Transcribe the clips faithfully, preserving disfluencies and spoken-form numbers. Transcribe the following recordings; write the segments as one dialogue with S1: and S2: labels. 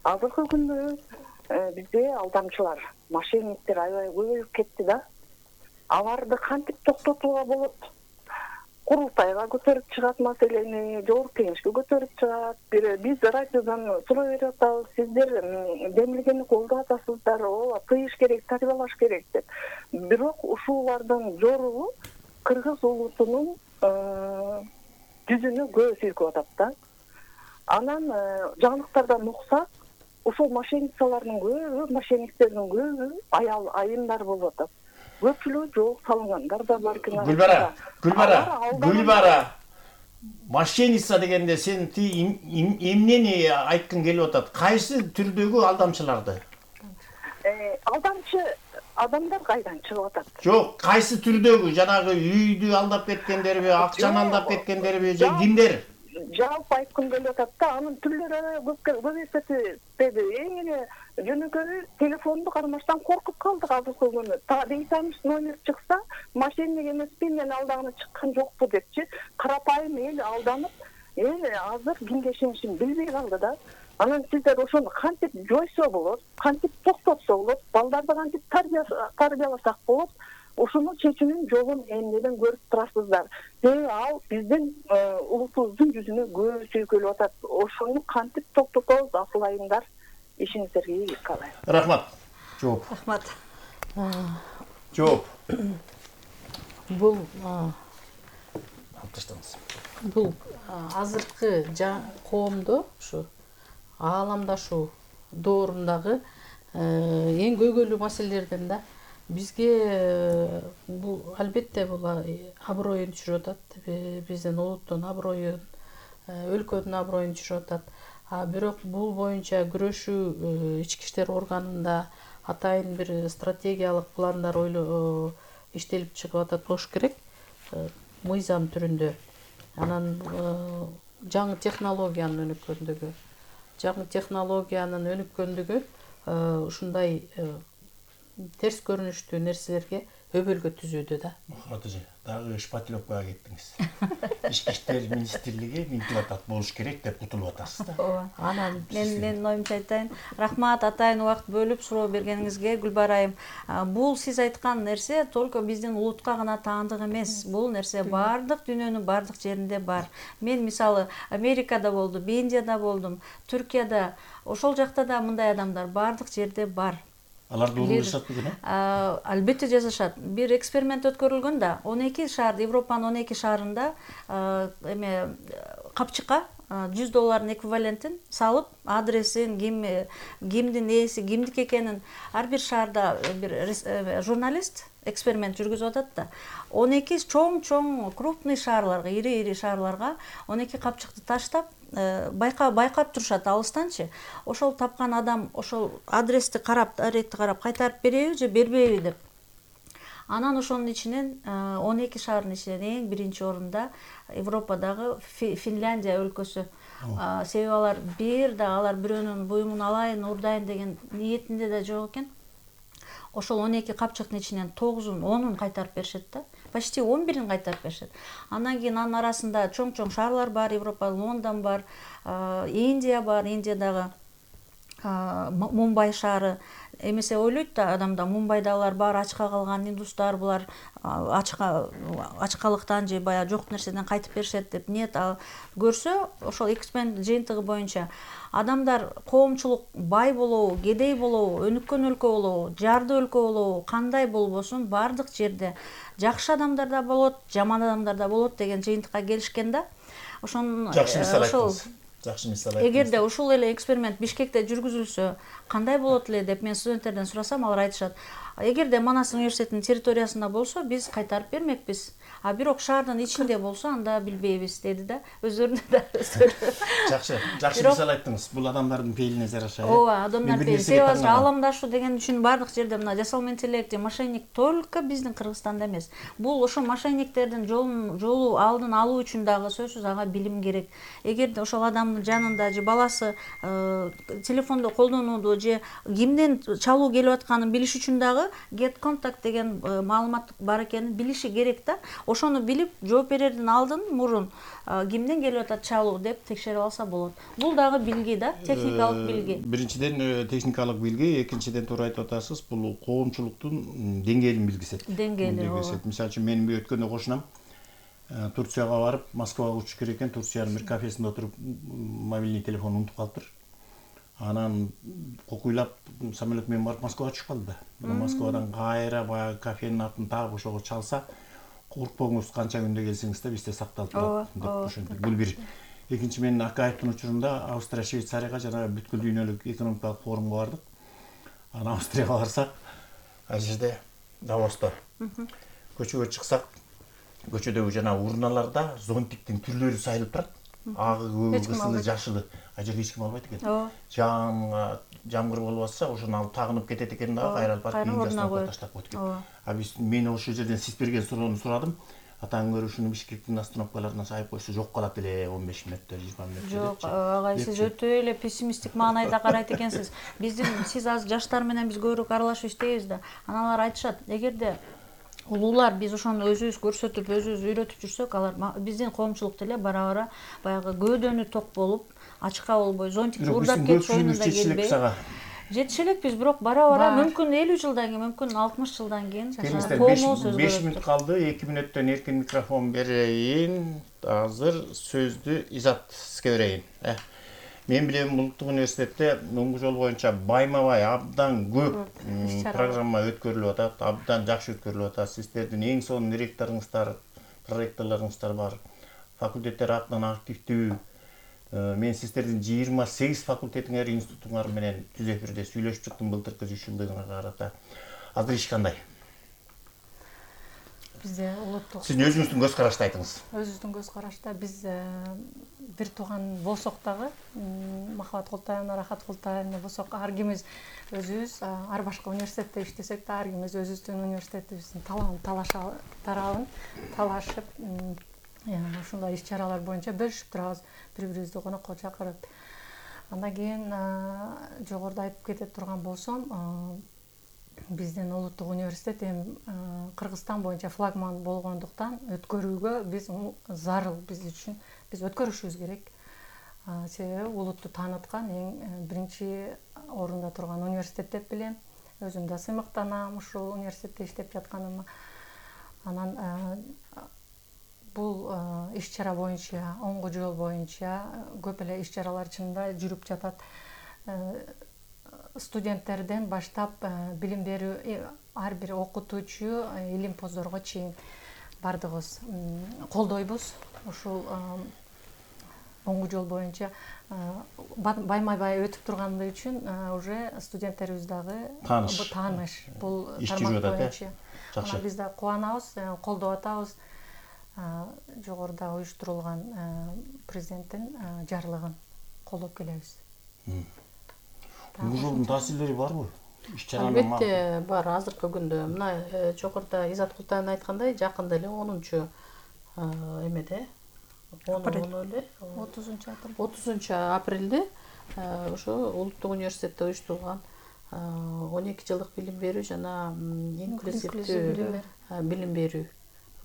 S1: азыркы күндө бизде алдамчылар, мошенниктер аябай көбөйүп кетти да. Аларды кантип токтотууга болот? Курултайга көтөрүп чыгат маселени, жогорку кеңешке көтөрүп чыгат. Биз радиодон суроо берип атабыз, сиздер демилгени колдоп атасыздар, ооба тыйыш керек, тарбиялаш керек деп. Бирок ушулардын жоругу кыргыз улутунун жүзүнө көз сүйкөп атат да. Анан жаңылыктардан уксак, ушул мошенницалардын көбү, мошенниктердин көбү аял айымдар болуп атат. Көпчүлүгү жол салгандар да бар.
S2: Гүлбара, Гүлбара, Гүлбара. Мошенница дегенде сен ти эмнени айткың келип атат? Кайсы түрдөгү алдамчыларды?
S1: Э, алдамчы адамдар кайдан чыгып атат?
S2: Жок, кайсы түрдөгү? Жанагы үйдү алдап кеткендерби, акчаны алдап кеткендерби, же кимдер?
S1: Жалпы айткым келип атат да, анын түрлөрү көбөйүп кетти. Эң эле жөнөкөй телефонду кармаштан коркуп калдык азыркы күнү. Бейтаныш номер чыкса, мошенник эмеспи, мен алдаганы чыккан жокпу депчи, карапайым эл алданып, эл азыр кимге ишенишин билбей калды да. Анан сиздер ошону кантип жойсо болот, кантип токтотсо болот, балдарды кантип тарбияласак болот, ошонун чечүүнүн жолун эмнеден көрүп турасыздар. Себеби ал биздин улутубуздун жүзүнө көз сүйкөлүп атат. Ошону кантип токтотобуз, асыл айымдар? Ишиңиздерге ийгилик каалайм.
S2: Рахмат. Жооп.
S3: Рахмат.
S2: Жооп.
S3: Бул
S2: таштаңыз.
S3: Бул азыркы коомдо ушу ааламдашуу доорундагы эң көйгөйлүү маселелерден да. Бизге бул албетте бул аброюн түшүрүп атат, биздин улуттун аброюн, өлкөнүн аброюн түшүрүп атат. А бирок бул боюнча күрөшүү ички иштер органында атайын бир стратегиялык пландар ойло иштелип чыгып атат болуш керек, мыйзам түрүндө. Анан жаңы технологиянын өнүккөндүгү, жаңы технологиянын өнүккөндүгү ушундай терс көрүнүштүү нерселерге өбөлгө түзүүдө да.
S2: Атыжы, дагы шпатлёккага кеттиңиз. Ички иштер министрлиги мынтип атат болуш керек деп утулуп атасыз да.
S3: Ооба.
S4: Анан мен мен оюмча айтайын. Рахмат атайын убакыт бөлүп суроо бергениңизге, Гүлбара айым. Бул сиз айткан нерсе только биздин улутка гана таандык эмес. Бул нерсе бардык дүйнөнүн бардык жеринде бар. Мен мисалы Америкада болдум, Индияда болдум, Түркияда, ошол жакта да мындай адамдар бардык жерде бар.
S2: Алар доону жасашат бүгүн?
S4: Албетте жасашат. Бир эксперимент өткөрүлгөн да, он эки шаар, Европанын он эки шаарында эме капчыкка жүз доллардын эквивалентин салып, адресин, ким кимдин ээси, кимдики экенин ар бир шаарда бир журналист эксперимент жүргүзүп атат да. он эки чоң-чоң крупный шаарларга, ири-ири шаарларга он эки капчыкты таштап, байкап байкап турушат алыстанчы. Ошол тапкан адам ошол адрести карап, адрести карап кайтарып береби же бербейби деп. Анан ошонун ичинен он эки шаардын ичинен эң биринчи орунда Европадагы Финляндия өлкөсү. Себеби алар бир да алар бирөөнүн буюмун алайын, урдайын деген ниетинде да жок экен. Ошол он эки капчыктын ичинен тогузун, онун кайтарып беришет да. Почти он бирин кайтарып беришет. Андан кийин анын арасында чоң-чоң шаарлар бар, Европа, Лондон бар, Индия бар, Индиядагы Мумбай шаары. Эмесе ойлойт да адамда, Мумбайда алар бар, ачка калган индустар, булар ачка ачкалыктан же баягы жок нерседен кайтып беришет деп ниет көрсө, ошол эксперимент жыйынтыгы боюнча адамдар коомчулук бай болобу, кедей болобу, өнүккөн өлкө болобу, жарды өлкө болобу, кандай болбосун бардык жерде жакшы адамдар да болот, жаман адамдар да болот деген жыйынтыкка келишкен да. Ошон
S2: жакшы мисал айттыңыз. Жакшы мисал айттыңыз.
S4: Эгерде ушул эле эксперимент Бишкекте жүргүзүлсө, кандай болот эле деп мен студенттерден сурасам, алар айтышат. Эгерде Манас университетинин территориясында болсо, биз кайтарып бермекпиз. А бирок шаардын ичинде болсо, анда билбейбиз деди да. Өздөрүнө да өздөрү.
S2: Жакшы, жакшы мисал айттыңыз. Бул адамдардын пейилине жараша.
S4: Ооба, адамдар пейили. Себеби ааламдашуу деген үчүн бардык жерде мына жасалма интеллект, мошенник только биздин Кыргызстанда эмес. Бул ошо мошенниктердин жолун жолу алдын алуу үчүн дагы сөзсүз ага билим керек. Эгерде ошол адамдын жанында же баласы телефондо колдонууду же кимден чалуу келип атканын билиш үчүн дагы дагы get contact деген маалымат бар экенин билиши керек да. Ошону билип жооп берердин алдын мурун кимден келип атат чалуу деп текшерип алса болот. Бул дагы билги да, техникалык билги.
S2: Биринчиден техникалык билги, экинчиден туура айтып атасыз, бул коомчулуктун деңгээлин билгисет.
S4: Деңгээли.
S2: Мисалы үчүн мен өткөндө кошунам Турцияга барып, Москвага учуп керек экен, Турциянын бир кафесинде отуруп мобильный телефон унутуп калыптыр. Анан кокуйлап самолет менен барып Москвага түшүп калды да. Москвадан кайра баягы кафенин атын таап ошого чалса, коркпоңуз, канча күндө келсеңиз да бизде сакталып турат деп ошентип. Бул бир. Экинчи, мен Акаевдин учурунда Австрия, Швейцарияга жана бүткүл дүйнөлүк экономикалык форумга бардык. Анан Австрияга барсак, ал жерде Давоста көчөгө чыксак, көчөдөгү жана урналарда зонтиктин түрлөрү сайылып турат. Агы, көк, кызылы, жашылы. А жерде эч ким албайт экен. Жаан жамгыр болуп атса, ошону алып тагынып кетет экен да, кайралып барып үйүнө таштап коет экен. А биз мен ошол жерден сиз берген суроону сурадым. Атаң көрүшүнү Бишкектин остановкаларына сайып койсо жок калат эле он беш мүнөттө, жыйырма мүнөттө.
S4: Жок, агай, сиз өтө эле пессимисттик маанайда карайт экенсиз. Биздин сиз азыр жаштар менен биз көбүрөөк аралашып иштейбиз да. Анан алар айтышат, эгерде улуулар биз ошону өзүбүз көрсөтүп, өзүбүз үйрөтүп жүрсөк, алар биздин коомчулук деле бара-бара баягы көөдөнү ток болуп, ачыкка болбой, зонтикти урдап кетип оюнунда келбей. Жетише элекпиз, бирок бара-бара мүмкүн элүү жылдан кийин, мүмкүн алтымыш жылдан кийин коомубуз өзгөрөт.
S2: беш мүнөт калды, эки мүнөттөн эркин микрофон берейин. Азыр сөздү Изатке берейин. Мен билем Улуттук университетте муңгу жол боюнча байма-бай абдан көп программа өткөрүлүп атат, абдан жакшы өткөрүлүп атат. Сиздердин эң сонун директоруңуздар, проректорлоруңуздар бар. Факультеттер атынан активдүү. Мен сиздердин жыйырма сегиз факультетиңер, институтуңар менен түз эфирде сүйлөшүп чыктым былтыркы үч жылдыгына карата. Азыр иш кандай?
S5: Бизде улуттук.
S2: Сиз өзүңүздүн көз карашты айтыңыз.
S5: Өзүбүздүн көз карашта биз бир тууган болсок дагы, Махабат Култаевна, Рахат Култаевна болсок, ар кимиз өзүбүз, ар башка университетте иштесек да, ар кимиз өзүбүздүн университетибиздин талабын талаша тарабын талашып, ушундай иш-чаралар боюнча бөлүшүп турабыз, бири-бирибизди конокко чакырып. Андан кийин жогоруда айтып кете турган болсом, биздин улуттук университет эми Кыргызстан боюнча флагман болгондуктан өткөрүүгө биз зарыл, биз үчүн биз өткөрүшүбүз керек. Себеби улутту тааныткан эң биринчи орунда турган университет деп билем. Өзүм да сыймыктанам ушул университетте иштеп жатканыма. Анан бул иш-чара боюнча, оңгу жол боюнча көп эле иш-чаралар чынында жүрүп жатат. Студенттерден баштап билим берүү, ар бир окутуучу, илимпоздорго чейин бардыгыбыз колдойбуз. Ушул оңгу жол боюнча байма-бай өтүп тургандыгы үчүн уже студенттерибиз дагы тааныш бул тармак боюнча. Жакшы. Биз да кубанабыз, колдоп атабыз. Жогоруда уюштурулган президенттин жарлыгын колдоп келебиз.
S2: Бул жолдун таасирлери барбы?
S3: Албетте бар. Азыркы күндө мына жогоруда Изат Култаевна айткандай, жакында эле онунчу эмеде отузунчу апрелде ошо Улуттук университетте уюштурулган он эки жылдык билим берүү жана инклюзивдүү билим берүү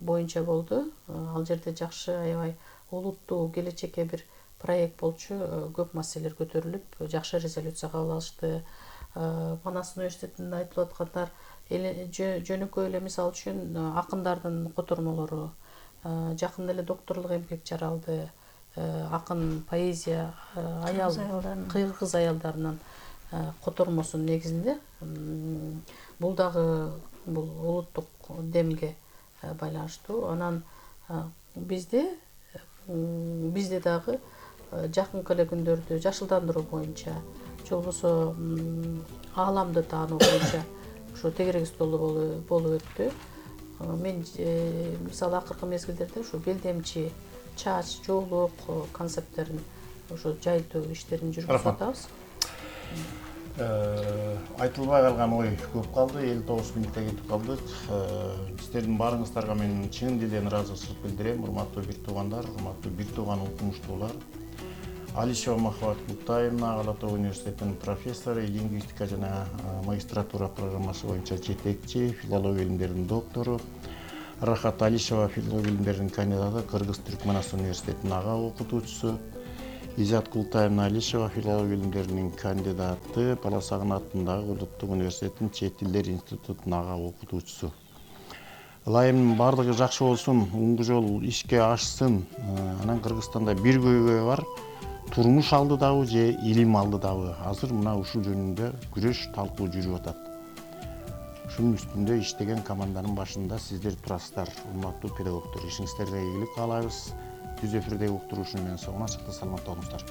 S3: боюнча болду. Ал жерде жакшы, аябай улуттуу келечекке бир проект болчу, көп маселелер көтөрүлүп, жакшы резолюция кабыл алышты. Манас университетинде айтылып аткандар жөнөкөй эле мисал үчүн акындардын котормолору, жакында эле докторлук эмгек жаралды, акын поэзия аял кыргыз аялдарынын котормосунун негизинде. Бул дагы бул улуттук демге байланыштуу. Анан бизде бизде дагы жакынкы эле күндөрдө жашылдандыруу боюнча, же болбосо ааламды таануу боюнча ошо тегерек столу болуп өттү. Мен мисалы акыркы мезгилдерде ушу белдемчи, чач, жоолук концепттерин ошо жайылтуу иштерин жүргүзүп атабыз.
S2: Айтылбай калган ой көп калды, элүү тогуз мүнөткө кетип калдык. Сиздердин баарыңыздарга мен чын дилден ыраазычылык билдирем, урматтуу бир туугандар, урматтуу бир тууган окумуштуулар. Алишева Махабат Култаевна, Ала Тоо университетинин профессору, лингвистика жана магистратура программасы боюнча жетекчи, филология илимдеринин доктору. Рахат Алишева, филология илимдеринин кандидаты, Кыргыз-Түркмөнстан университетинин ага окутуучусу. Изат Култаевна Алишева, филология илимдеринин кандидаты, Баласагын атындагы Улуттук университетинин Чет тилдер институтунун ага окутуучусу. Ылайымдын баардыгы жакшы болсун, оңду жол ишке ашсын. Анан Кыргызстанда бир көйгөй бар. Турмуш алдыдабы же илим алдыдабы? Азыр мына ушул жөнүндө күрөш, талкуу жүрүп атат. Ушунун үстүндө иштеген команданын башында сиздер турасыздар, урматтуу педагогдор. Ишиңиздерге ийгилик каалайбыз. Түз эфирдеги уктуруушуну менен соңуна чыкты, саламатта болуңуздар.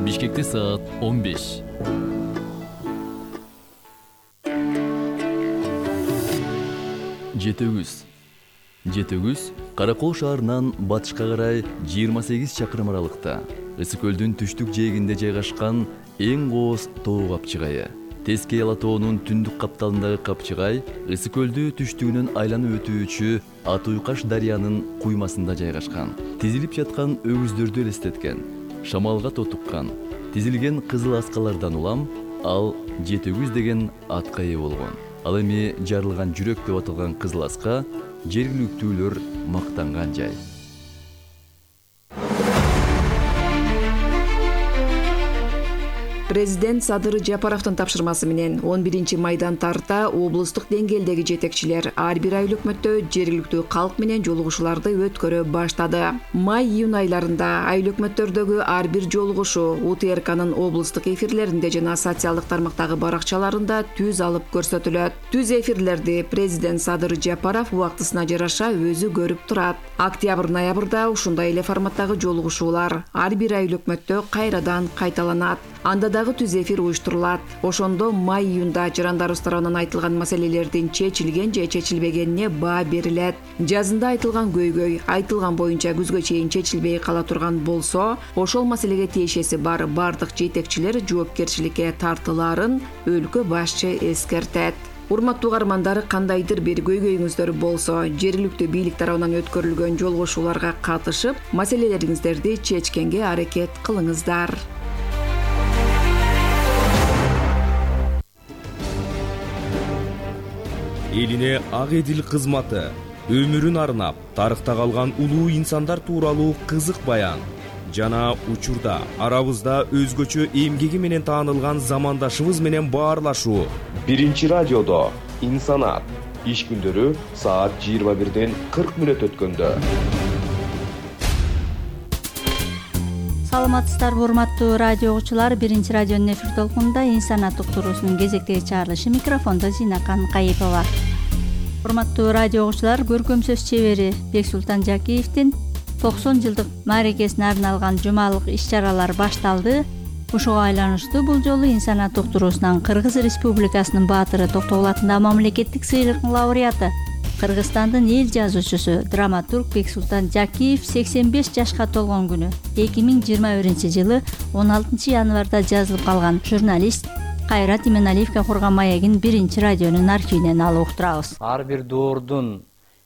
S6: Бишкекте саат он беш. Жетөгүз. Жетөгүз Каракол шаарынан батышка карай жыйырма сегиз чакырым аралыкта, Ысык көлдүн түштүк жээгинде жайгашкан эң кооз тоо капчыгайы. Тескей Ала тоонун түндүк капталындагы капчыгай Ысык көлдү түштүгүнөн айланып өтүүчү Атуйкаш дарыянын куймасында жайгашкан. Тизилип жаткан өгүздөрдү элестеткен, шамалга тотуккан, тизилген кызыл аскалардан улам ал Жетөгүз деген атка ээ болгон. Ал эми жарылган жүрөк деп аталган кызыл аска жергиликтүүлөр мактанган жай.
S7: Президент Садыр Жапаровдун тапшырмасы менен он биринчи майдан тарта облустук деңгээлдеги жетекчилер ар бир ай өкмөттө жергиликтүү калк менен жолугушууларды өткөрө баштады. Май-июнь айларында ай өкмөттөрдөгү ар бир жолугушуу У Т Р К'нын облустук эфирлеринде жана социалдык тармактагы баракчаларында түз алып көрсөтүлөт. Түз эфирлерди президент Садыр Жапаров убактысына жараша өзү көрүп турат. Октябрь-ноябрда ушундай эле форматтагы жолугушуулар ар бир ай өкмөттө кайрадан кайталанат. Анда дагы түз эфир уюштурулат. Ошондо май-июнда жарандарыбыз тарабынан айтылган маселелердин чечилген же чечилбегенине баа берилет. Жазында айтылган көйгөй айтылган боюнча күзгө чейин чечилбей кала турган болсо, ошол маселеге тиешеси бар бардык жетекчилер жоопкерчиликке тартылаарын өлкө башчы эскертет. Урматтуу угармандар, кандайдыр бир көйгөйүңүздөр болсо, жергиликтүү бийлик тарабынан өткөрүлгөн жолугушууларга катышып, маселелериңиздерди чечкенге аракет кылыңыздар.
S8: Элине ак эдил кызматы, өмүрүн арнап, тарыхта калган улуу инсандар тууралуу кызык баян жана учурда арабызда өзгөчө эмгеги менен таанылган замандашыбыз менен баарлашуу. Биринчи радиодо инсанат иш күндөрү саат жыйырма бирден кырк мүнөт өткөндө.
S4: Саламатсыздарбы урматтуу радио угуучулар, биринчи радионун эфир толкунунда инсанат уктуруусунун кезектеги чыгарылышы, микрофондо Зинакан Кайыпова. Урматтуу радио угуучулар, көркөм сөз чебери Бексултан Жакиевдин токсон жылдык мааракесине арналган жумалык иш-чаралар башталды. Ушуга айланыштуу бул жолу инсанат уктуруусунан Кыргыз Республикасынын баатыры Токтогул атындагы мамлекеттик сыйлыктын лауреаты, Кыргызстандын эл жазуучусу, драматург Бексултан Жакиев сексен беш жашка толгон күнү эки миң жыйырма биринчи жылы он алтынчы январда жазылып калган журналист Кайрат Иманалиевге курган маегин биринчи радионун архивинен алып уктурабыз.
S9: Ар бир доордун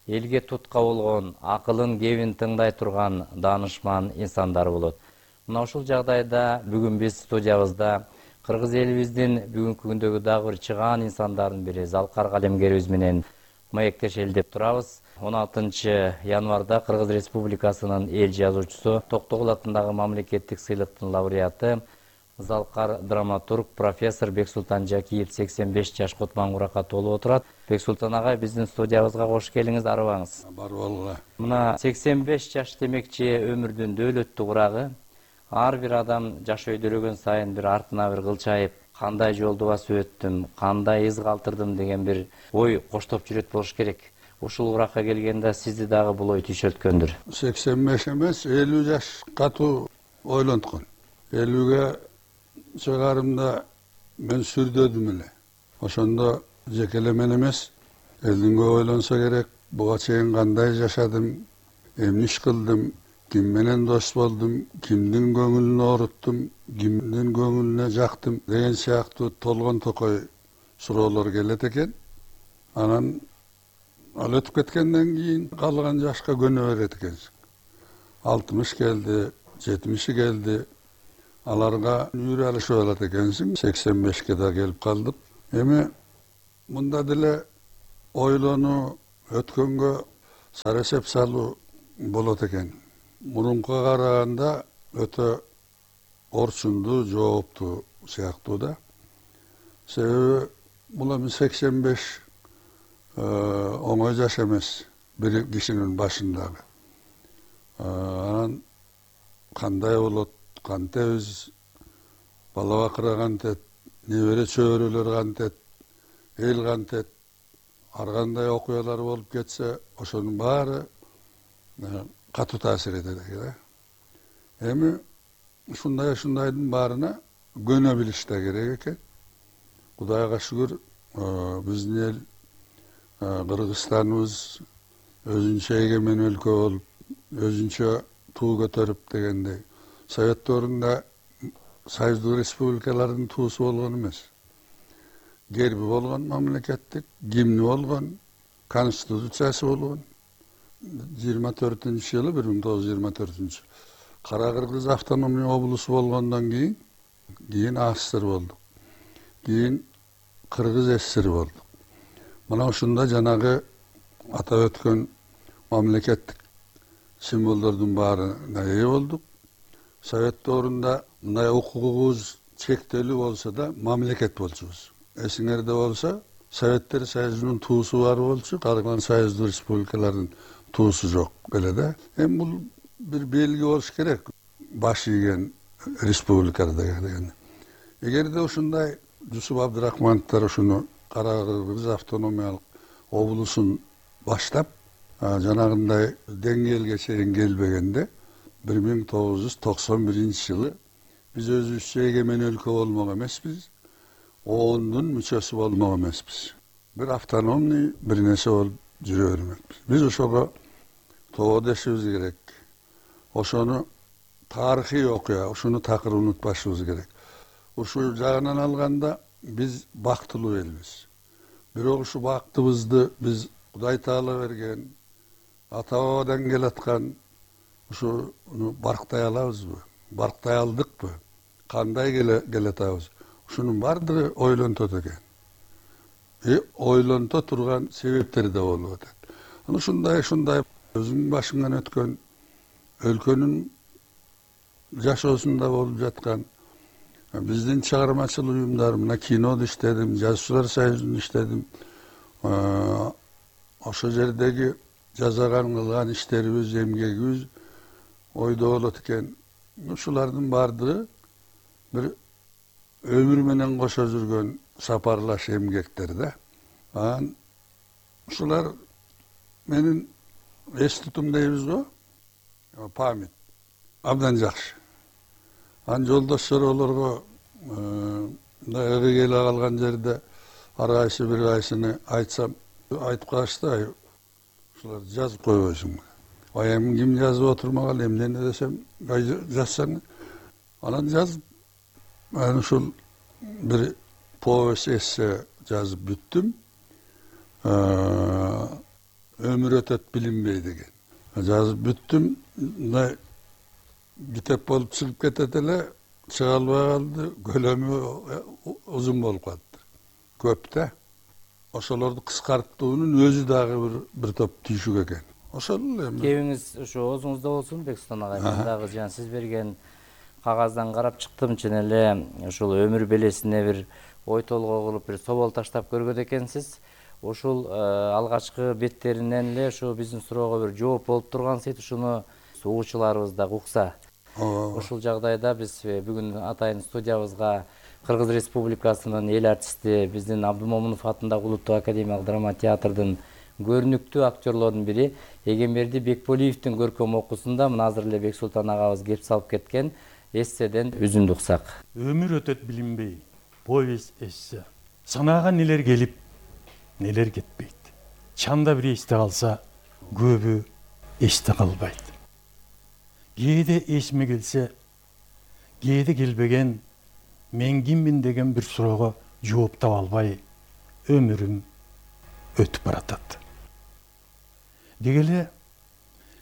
S9: элге тутка болгон, акылын кебин тыңдай турган даанышман инсандар болот. Мына ушул жагдайда бүгүн биз студиябызда Кыргыз элибиздин бүгүнкү күндөгү дагы бир чыгаан инсандардын бири Залкар калемгерибиз менен маектешели деп турабыз. он алтынчы январда Кыргыз Республикасынын эл жазуучусу, Токтогул атындагы мамлекеттик сыйлыктын лауреаты Залкар драматург профессор Бексултан Жакиев сексен беш жашка отмаңгуракка толуп отурат. Бексултан агай, биздин студиябызга кош келиңиз, арыбаңыз.
S10: Бар болгула.
S9: Мына сексен беш жаш демекчи өмүрдүн дөөлөттүү курагы. Ар бир адам жаш өйдөлөгөн сайын бир артына бир кылчайып, кандай жолду басып өттүм, кандай из калтырдым деген бир ой коштоп жүрөт болуш керек. Ушул уракка келгенде сизди дагы бул ой түшөлткөндүр.
S10: сексен беш эмес, элүү жаш катуу ойлонткон. элүүгө чыгарымда мен сүрдөдүм эле. Ошондо жеке мен эмес, элдинге ойлонсо керек, буга чейин кандай жашадым, эмне иш кылдым, ким менен дос болдум, кимдин көңүлүн ооруттум, кимдин көңүлүнө жактым деген сыяктуу толгон токой суроолор келет экен. Анан ал өтүп кеткенден кийин калган жашка көнө берет экенсиң. алтымыш келди, жетимиши келди. Аларга үйрө алышып алат экенсиң. сексен бешке да келип калдык. Эми мында деле ойлонуу, өткөнгө сарасеп салуу болот экен. Мурункуга караганда өтө орчундуу, жооптуу сыяктуу да. Себеби бул эми сексен беш оңой жаш эмес бир кишинин башындагы. Анан кандай болот, кантебиз, бала бакыра кантет, небере чөбөрөлөр кантет, эл кантет, ар кандай окуялар болуп кетсе, ошонун баары катуу таасир этет экен. Эми ушундай ушундайдын баарына көнө билиш да керек экен. Кудайга шүгүр, биздин эл Кыргызстаныбыз өзүнчө эгемен өлкө болуп, өзүнчө туу көтөрүп дегендей. Советтөрүндө союздук республикалардын туусу болгон эмес. Герби болгон мамлекеттик, гимни болгон, конституциясы болгон. жыйырма төртүнчү жылы, бир миң тогуз жүз жыйырма төртүнчү Кара Кыргыз автономный облусу болгондон кийин, кийин АССР болдук. Кийин Кыргыз ССР болдук. Мына ушунда жанагы атап өткөн мамлекеттик символдордун баарына ээ болдук. Совет доорунда мындай укугубуз чектелүү болсо да мамлекет болчубуз. Эсиңерде болсо, Советтер Союзунун туусу бар болчу, калган союздук республикалардын туусу жок беле да. Эми бул бир белги болуш керек. Баш ийген республикада деген. Эгерде ушундай Жусуп Абдрахмановдор ушуну Кара Кыргыз автономиялык облусун баштап, жанагындай деңгээлге чейин келбегенде, бир миң тогуз жүз токсон биринчи жылы биз өзүбүзчө эгемен өлкө болмок эмеспиз, оондун мүчөсү болмок эмеспиз. Бир автономный бир нерсе болуп жүрө бермекпиз. Биз ошого тоо дешибиз керек. Ошону тарыхый окуя, ушуну такыр унутпашыбыз керек. Ушул жагынан алганда биз бактылуу элбиз. Бирок ушу бактыбызды биз Кудай Таала берген, ата бабадан келаткан ушуну барктай алабызбы? Барктай алдыкпы? Кандай келе атабыз? Ушунун баардыгы ойлонтот экен. И ойлонто турган себептери да болуп атат. Аны ушундай ушундай өзүмдүн башымдан өткөн өлкөнүн жашоосунда болуп жаткан биздин чыгармачыл уюмдар, мына кинодо иштедим, жазуучулар союзунда иштедим. Ошол жердеги жасаган кылган иштерибиз, эмгегибиз ойдо болот экен. Ушулардын баардыгы бир өмүр менен кошо жүргөн сапарлаш эмгектер да. Анан ушулар менин эс тутум дейбиз го, память абдан жакшы. Анан жолдоштор олорго мындай ыгы келе калган жерде ар кайсы бир кайсыны айтсам, айтып калышты, ушулар жазып койбойсуңбу? Ай эми ким жазып отурмагал, эмне десем, жазсаң. Анан жазып, мен ушул бир повесть эссе жазып бүттүм. Өмүр өтөт билинбей деген. Жазып бүттүм. Мындай китеп болуп чыгып кетет эле, чыга албай калды, көлөмү узун болуп калды. Көп да. Ошолорду кыскартуунун өзү дагы бир бир топ түйшүк экен. Ошол эми.
S9: Кебиңиз ушу оозуңузда болсун, Бексултан агай. Мен дагы жана сиз берген кагаздан карап чыктым, чын эле ушул өмүр белесине бир ой толгоо кылып, бир собол таштап көргөн экенсиз. Ушул алгачкы беттеринен эле ушу биздин суроого бир жооп болуп турган сейт, ушуну угуучуларыбыз да укса. Ушул жагдайда биз бүгүн атайын студиябызга Кыргыз Республикасынын эл артисти, биздин Абдымомунов атындагы Улуттук академиялык драма театрдын көрүнүктүү актерлордун бири Эгемберди Бекболиевдин көркөм окуусунда мына азыр эле Бексултан агабыз кеп салып кеткен эсседен үзүндү уксак.
S11: Өмүр өтөт билинбей, повесть эссе. Санаага нелер келип, нелер кетпейт. Чанда бир эсте калса, көбү эсте калбайт. Кээде эсиме келсе, кээде келбеген, мен киммин деген бир суроого жооп таба албай, өмүрүм өтүп баратат. Деги эле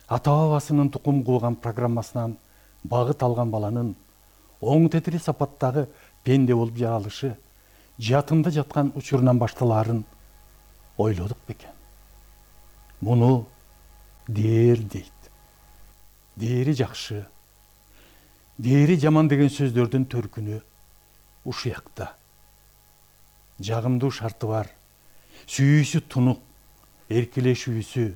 S11: ата бабасынын тукум кууган программасынан багыт алган баланын оң тетири сапаттагы пенде болуп жаралышы жатында жаткан учурунан башталаарын ойлодук бекен. Муну дээр дейт. Дээри жакшы, дээри жаман деген сөздөрдүн төркүнү ушуякта. Жагымдуу шарты бар, сүйүүсү тунук, эркелешүүсү,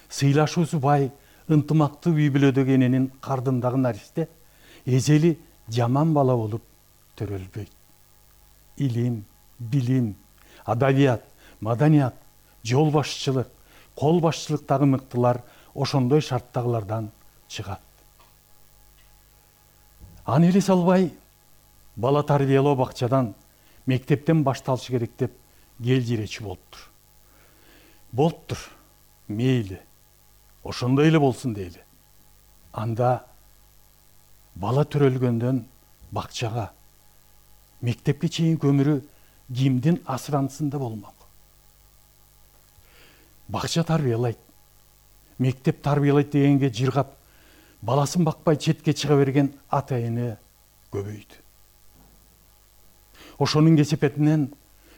S11: сыйлашуусу бай, ынтымактуу үй бүлөдөгү эненин кардындагы наристе эзели жаман бала болуп төрөлбөйт. Илим, билим, адабият, маданият, жол башчылык, кол башчылыктагы мыктылар ошондой шарттагылардан чыгат. Аны эле салбай, бала тарбиялоо бакчадан, мектептен башталышы керек деп келжиречи болуптур. Болуптур, мейли, ошондой эле болсун дейли. Анда бала төрөлгөндөн бакчага, мектепке чейинки өмүрү кимдин асырантысында болмок? Бакча тарбиялайт, мектеп тарбиялайт дегенге жыргап, баласын бакпай четке чыга берген ата эне көбөйдү. Ошонун кесепетинен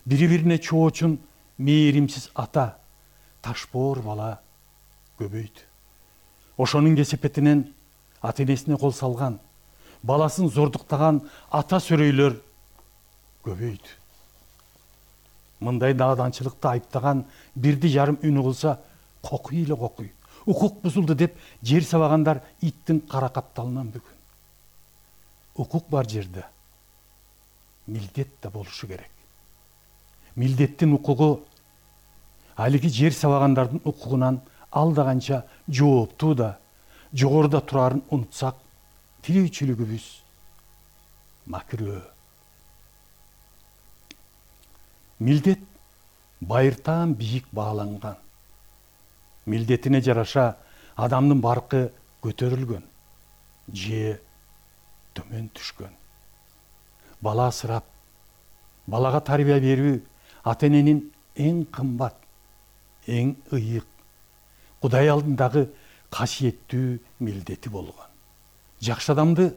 S11: бири-бирине чоочун мээримсиз ата, ташбоор бала көбөйдү. Ошонун кесепетинен ата энесине кол салган, баласын зордуктаган ата сөрөйлөр көбөйдү. Мындай нааданчылыкты айыптаган бирди жарым үнү кылса, кокуй эле кокуй. Укук бузулду деп жер сабагандар иттин кара капталынан бүгүн. Укук бар жерде милдет да болушу керек. Милдеттин укугу алиги жер сабагандардын укугунан алда канча жооптуу да, жогоруда турарын унутсак, тирүүчүлүгүбүз макирөө. Милдет байыртаан бийик бааланган. Милдетине жараша адамдын баркы көтөрүлгөн, же төмөн түшкөн. Бала асырап, балага тарбия берүү ата эненин эң кымбат, эң ыйык, Кудай алдындагы касиеттүү милдети болгон. Жакшы адамды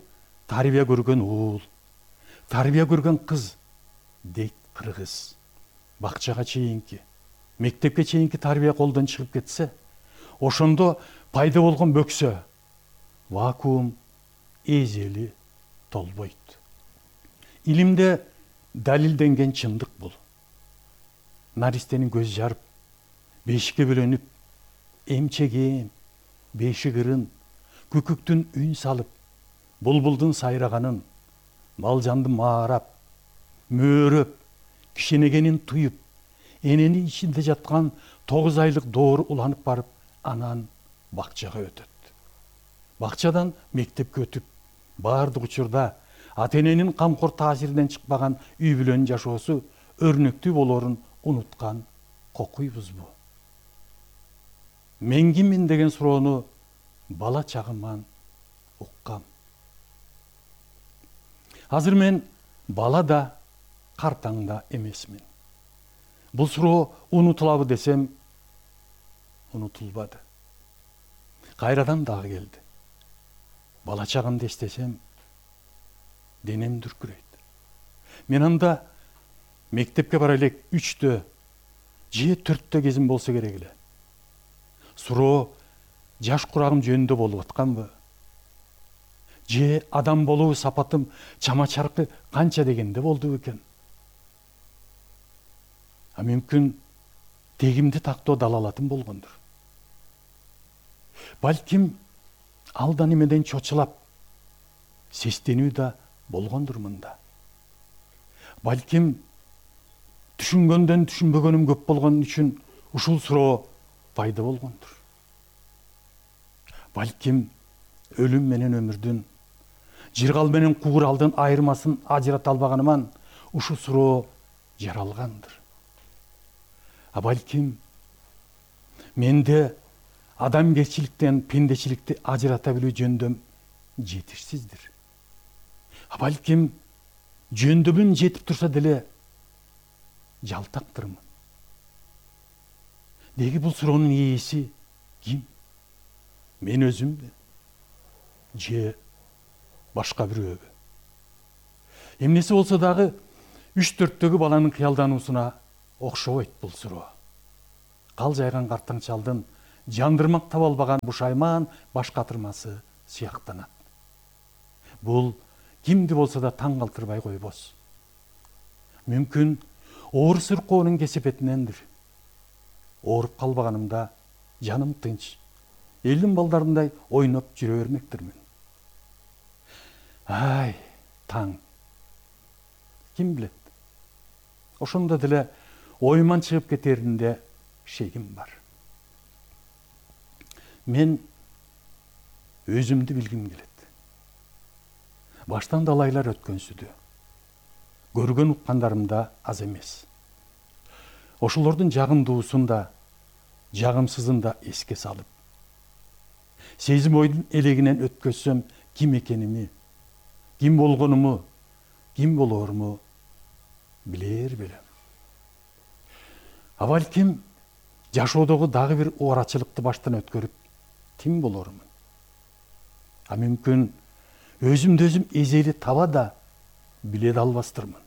S11: тарбия көргөн уул, тарбия көргөн кыз дейт кыргыз. Бакчага чейинки, мектепке чейинки тарбия колдон чыгып кетсе, ошондо пайда болгон бөксө, вакуум эзели толбойт. Илимде далилденген чындык бул. Наристенин көз жарып, бешикке бөлөнүп, эмчегем, бешик ырын, күкүктүн үн салып, булбулдун сайраганын, малжанды маарап, мөөрөп, кишенегенин туюп, энени ичинде жаткан тогуз айлык доору уланып барып, анан бакчага өтөт. Бакчадан мектепке өтүп, баардык учурда ата эненин камкор таасиринен чыкпаган үй бүлөнүн жашоосу өрнөктүү болоорун унуткан кокуйбузбу? Мен киммин деген суроону бала чагыман уккам. Азыр мен бала да, картаң да эмесмин. Бул суроо унутулабы десем, унутулбады. Кайрадан дагы келди. Бала чагымды эстесем, денем дүркүрөйт. Мен анда мектепке бара элек үчтө, же төрттө кезим болсо керек эле. Суроо жаш курагым жөнүндө болуп атканбы? Же адам болуу сапатым чама чаркы канча дегенде болду экен? А мүмкүн тегимди тактоо далалатым болгондур. Балким алдан эмеден чочулап, сестенүү да болгондур мында. Балким түшүнгөндөн түшүнбөгөнүм көп болгон үчүн ушул суроо пайда болгондур. Балким өлүм менен өмүрдүн, жыргал менен кууралдын айырмасын ажырата албаганыман ушул суроо жаралгандыр. А балким менде адамгерчиликтен пендечиликти ажырата билүү жөндөм жетишсиздир. А балким жөндөмүн жетип турса деле жалтактырмын. Деги бул суроонун ээси ким? Мен өзүмбү? Же башка бирөөгө? Эмнеси болсо дагы үч төрттөгү баланын кыялдануусуна окшобойт бул суроо. Кал жайган картаң чалдын жандырмак таба албаган бушайман баш катырмасы сыяктанат. Бул кимди болсо да таң калтырбай койбос. Мүмкүн оор суркоонун кесепетинендир. Ооруп калбаганымда жаным тынч, элдин балдарындай ойноп жүрө бермектирмин. Ай, таң. Ким билет? Ошондо деле оюман чыгып кетеринде шегим бар. Мен өзүмдү билгим келет. Баштан далайлар өткөнсүдү. Көргөн уккандарым да аз эмес. Ошолордун жагымдуусун да, жагымсызын да эске салып, сезим ойдун элегинен өткөзсөм ким экеними, ким болгонуму, ким болооруму билер белем. А балким жашоодогу дагы бир оорачылыкты баштан өткөрүп ким болорумун. А мүмкүн өзүмдү өзүм эзели таба да биле да албастырмын.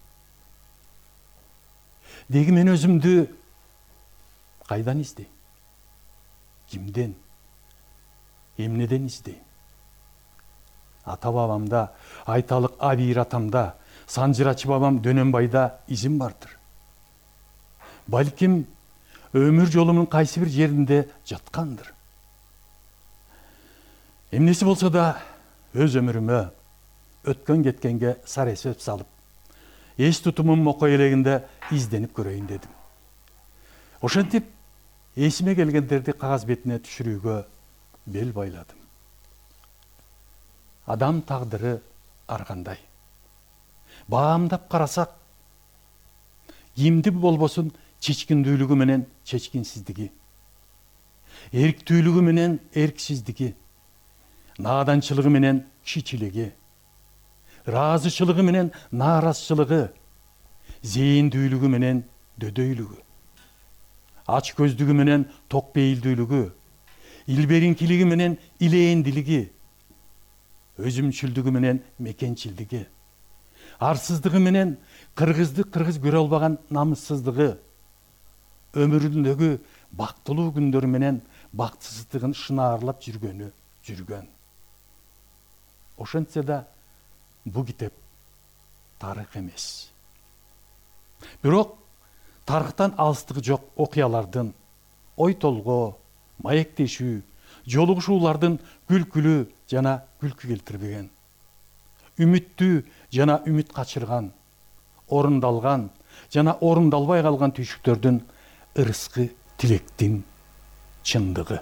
S11: Деги мен өзүмдү кайдан издейм? Кимден? Эмнеден издейм? Ата бабамда, айталык Абийир атамда, Санжырачы бабам Дөнөнбайда изим бардыр. Балким өмүр жолумун кайсы бир жеринде жаткандыр. Эмнеси болсо да өз өмүрүмө өткөн кеткенге сар эсеп салып, эс тутумум мокой элегинде изденип көрөйүн дедим. Ошентип эсиме келгендерди кагаз бетине түшүрүүгө бел байладым. Адам тагдыры ар кандай. Баамдап карасак, кимди болбосун чечкиндүүлүгү менен чечкинсиздиги, эрктүүлүгү менен эрксиздиги, нааданчылыгы менен кичичилиги, ыраазычылыгы менен нааразычылыгы, зээндүүлүгү менен дөдөйлүгү, ач көздүгү менен ток бейилдүүлүгү, илбериңкилиги менен илээндилиги, өзүмчүлдүгү менен мекенчилдиги, арсыздыгы менен кыргызды кыргыз көрө албаган намыссыздыгы, өмүрүндөгү бактылуу күндөрү менен бактысыздыгын шынаарлап жүргөнү жүргөн. Ошентсе да бу китеп тарых эмес. Бирок тарыхтан алыстыгы жок окуялардын, ой толгоо, маектешүү, жолугушуулардын күлкүлүү жана күлкү келтирбеген, үмүттүү жана үмүт качырган, орундалган жана орундалбай калган түйшүктөрдүн ырыскы тилектин чындыгы,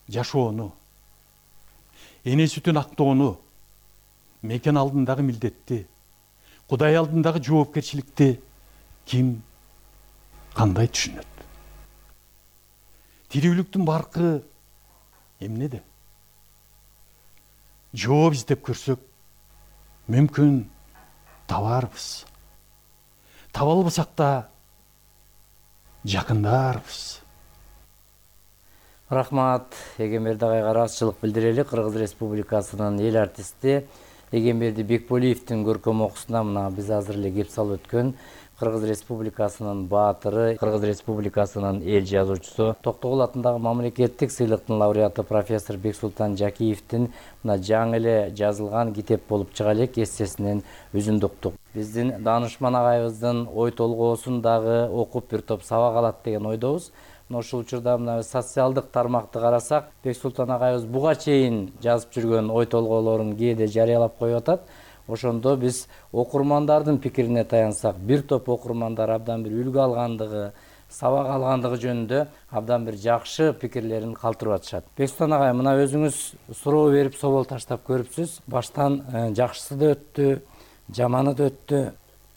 S11: жашоону, эне сүтүн актоону, мекен алдындагы милдетти, Кудай алдындагы жоопкерчиликти ким кандай түшүнөт? Тирүүлүктүн баркы эмнеде? Жооп издеп көрсөк, мүмкүн табарбыз. Таба албасак да жакындарбыз.
S9: Рахмат. Эгемберди агайга ыраазычылык билдирели. Кыргыз Республикасынын эл артисти Эгемберди Бекболиевдин көркөм окуусуна мына биз азыр эле кеп салып өткөн Кыргыз Республикасынын баатыры, Кыргыз Республикасынын эл жазуучусу, Токтогул атындагы мамлекеттик сыйлыктын лауреаты профессор Бексултан Жакиевдин мына жаңы эле жазылган китеп болуп чыга элек эссесинен үзүндүктүк. Биздин Данышман агайыбыздын ой толгоосун дагы окуп бир топ сабак алат деген ойдобуз. Мына ушул учурда мына социалдык тармакты карасак, Бексултан агайыбыз буга чейин жазып жүргөн ой толгоолорун кээде жарыялап коюп атат. Ошондо биз окурмандардын пикирине таянсак, бир топ окурмандар абдан бир үлгү алгандыгы, сабак алгандыгы жөнүндө абдан бир жакшы пикирлерин калтырып атышат. Бексултан агай, мына өзүңүз суроо берип собол таштап көрүпсүз. Баштан жакшысы да өттү, жаманы да өттү.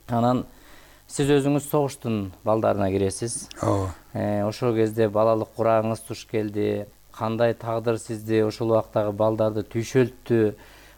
S9: Анан сиз өзүңүз согуштун балдарына киресиз.
S10: Ооба.
S9: Ошол кезде балалык курагыңыз туш келди. Кандай тагдыр сизди ошол убактагы балдарды түйшөлттү?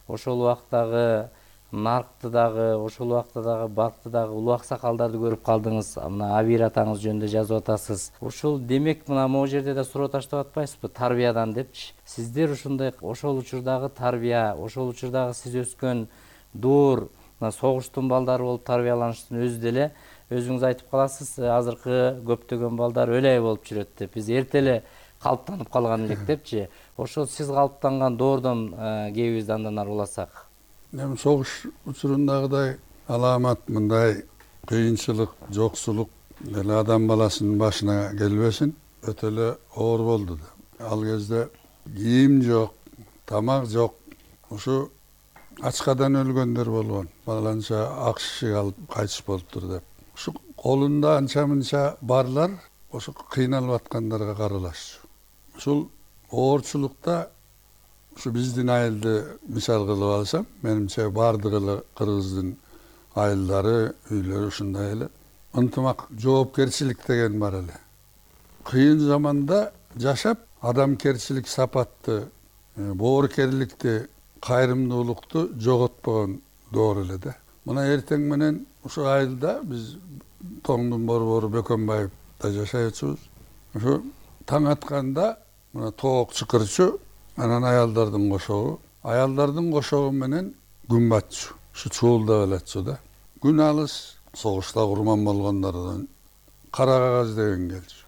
S9: Ошол убактагы наркты дагы ошол убакта дагы балкты дагы улуу аксакалдарды көрүп калдыңыз. Мына Абир атаңыз жөнүндө жазып атасыз. Ушул демек мына могу жерде да суроо таштап атпайсызбы тарбиядан депчи. Сиздер ушундай ошол учурдагы тарбия, ошол учурдагы сиз өскөн дуур, мына согуштун балдары болуп тарбияланыштын өзү деле өзүңүз айтып каласыз, азыркы көптөгөн балдар өлөй болуп жүрөт деп. Биз эрте эле калыптанып калган элек депчи. Ошол сиз калыптанган доордон кээбизди андан ары уласак.
S10: Эми согуш учурундагыдай аламат мындай кыйынчылык, жоксулук эле адам баласынын башына келбесин, өтө эле оор болду да. Ал кезде кийим жок, тамак жок. Ушу ачкадан өлгөндөр болгон. Баланча ак шишик алып кайтыш болуптур деп. Ушу колунда анча-мынча барлар ошо кыйналып аткандарга каралашчу. Ушул оорчулукта ушу биздин айылды мисал кылып алсам, менимче бардыгы эле кыргыздын айылдары, үйлөрү ушундай эле. Ынтымак, жоопкерчилик деген бар эле. Кыйын заманда жашап, адамкерчилик сапатты, боорукерликти, кайрымдуулукту жоготпогон доор эле да. Мына эртең менен ушу айылда биз Тоңдун борбору Бөкөнбаевда жашайчубуз. Ушу таң атканда мына тоок чыкырчу, анан аялдардын кошогу, аялдардын кошогу менен күн батчу. Ушу чуулдап элетчү да. Күн алыс, согушта курман болгондордон кара кагаз деген келчү.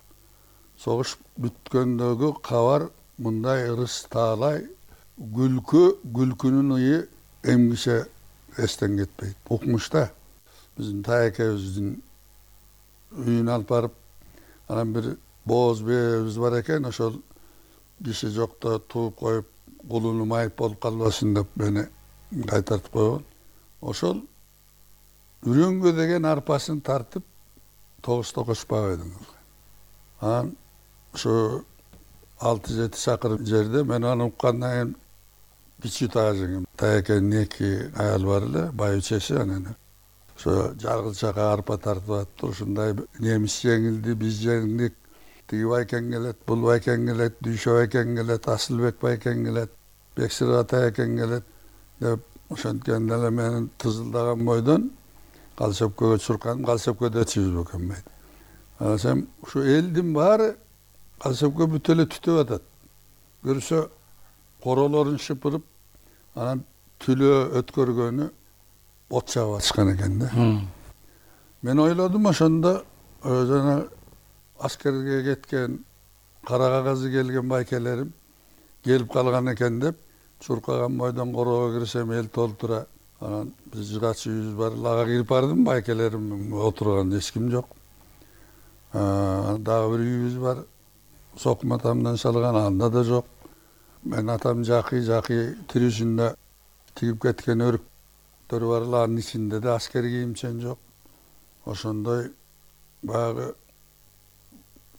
S10: Согуш бүткөндөгү кабар мындай ырыс таалай, күлкү, күлкүнүн ыйы эмгише эстен кетпейт. Укмушта биздин таекебиздин үйүнө алып барып, анан бир бооз бээбиз бар экен, ошол киши жокто тууп коюп, кулуну майып болуп калбасын деп мени кайтартып койгон. Ошол үрөңгө деген арпасын тартып тогузда Кошпабайдың. Анан ушу алты жети чакырым жерде мен аны уккандан кийин кичүү таажың, таекенин эки аял бар эле, байучеси, анан ошо жаргылчага арпа тартып атыптыр. Ушундай немис жеңилди, биз жеңдик, тиги байкең келет, бул байкең келет, Дүйшө байкең келет, Асылбек байкең келет, Бексир атаекең келет деп ошонткенде эле менин тызылдаган бойдон Калсөпкөгө чурканып, Калсөпкөдө чибиз Бөкөнбайд. Анан ушу элдин баары Калсөпкө бүт эле түтүп атат. Көрсө королорун шыпырып, анан түлөө өткөргөнү от чагып атышкан экен да. Мен ойлодум ошондо жана аскерге кеткен, кара кагазы келген байкелерим келип калган экен деп, чуркаган бойдон короого кирсем эл толтура. Анан биз жыгач үйүбүз бар, ага кирип бардым, байкелерим отурган, эч ким жок. Дагы бир үйүбүз бар, сокма тамдан салган, анда да жок. Мен атам жакый, жакый тирүүсүндө тигип кеткен өрүктөр бар, анын ичинде да аскер кийимчен жок. Ошондой баягы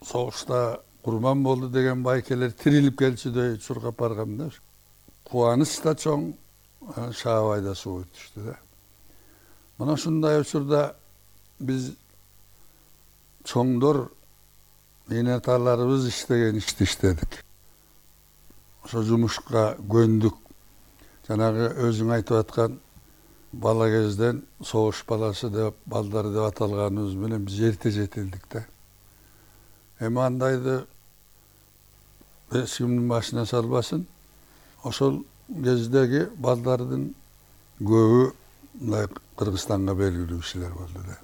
S10: согушта курман болду деген байкелер тирилип келчүдөй чуркап баргам да. Кубаныч да чоң, Шаабай да суу өтүштү да. Мына ушундай учурда биз чоңдор, эне аталарыбыз иштеген ишти иштедик. Ошо жумушка көндүк. Жанагы өзүң айтып аткан бала кезден согуш баласы деп, балдар деп аталганыбыз менен биз эрте жетилдик да. Эми андайды эч кимдин башына салбасын. Ошол кездеги балдардын көбү мындай Кыргызстанга белгилүү кишилер болду да.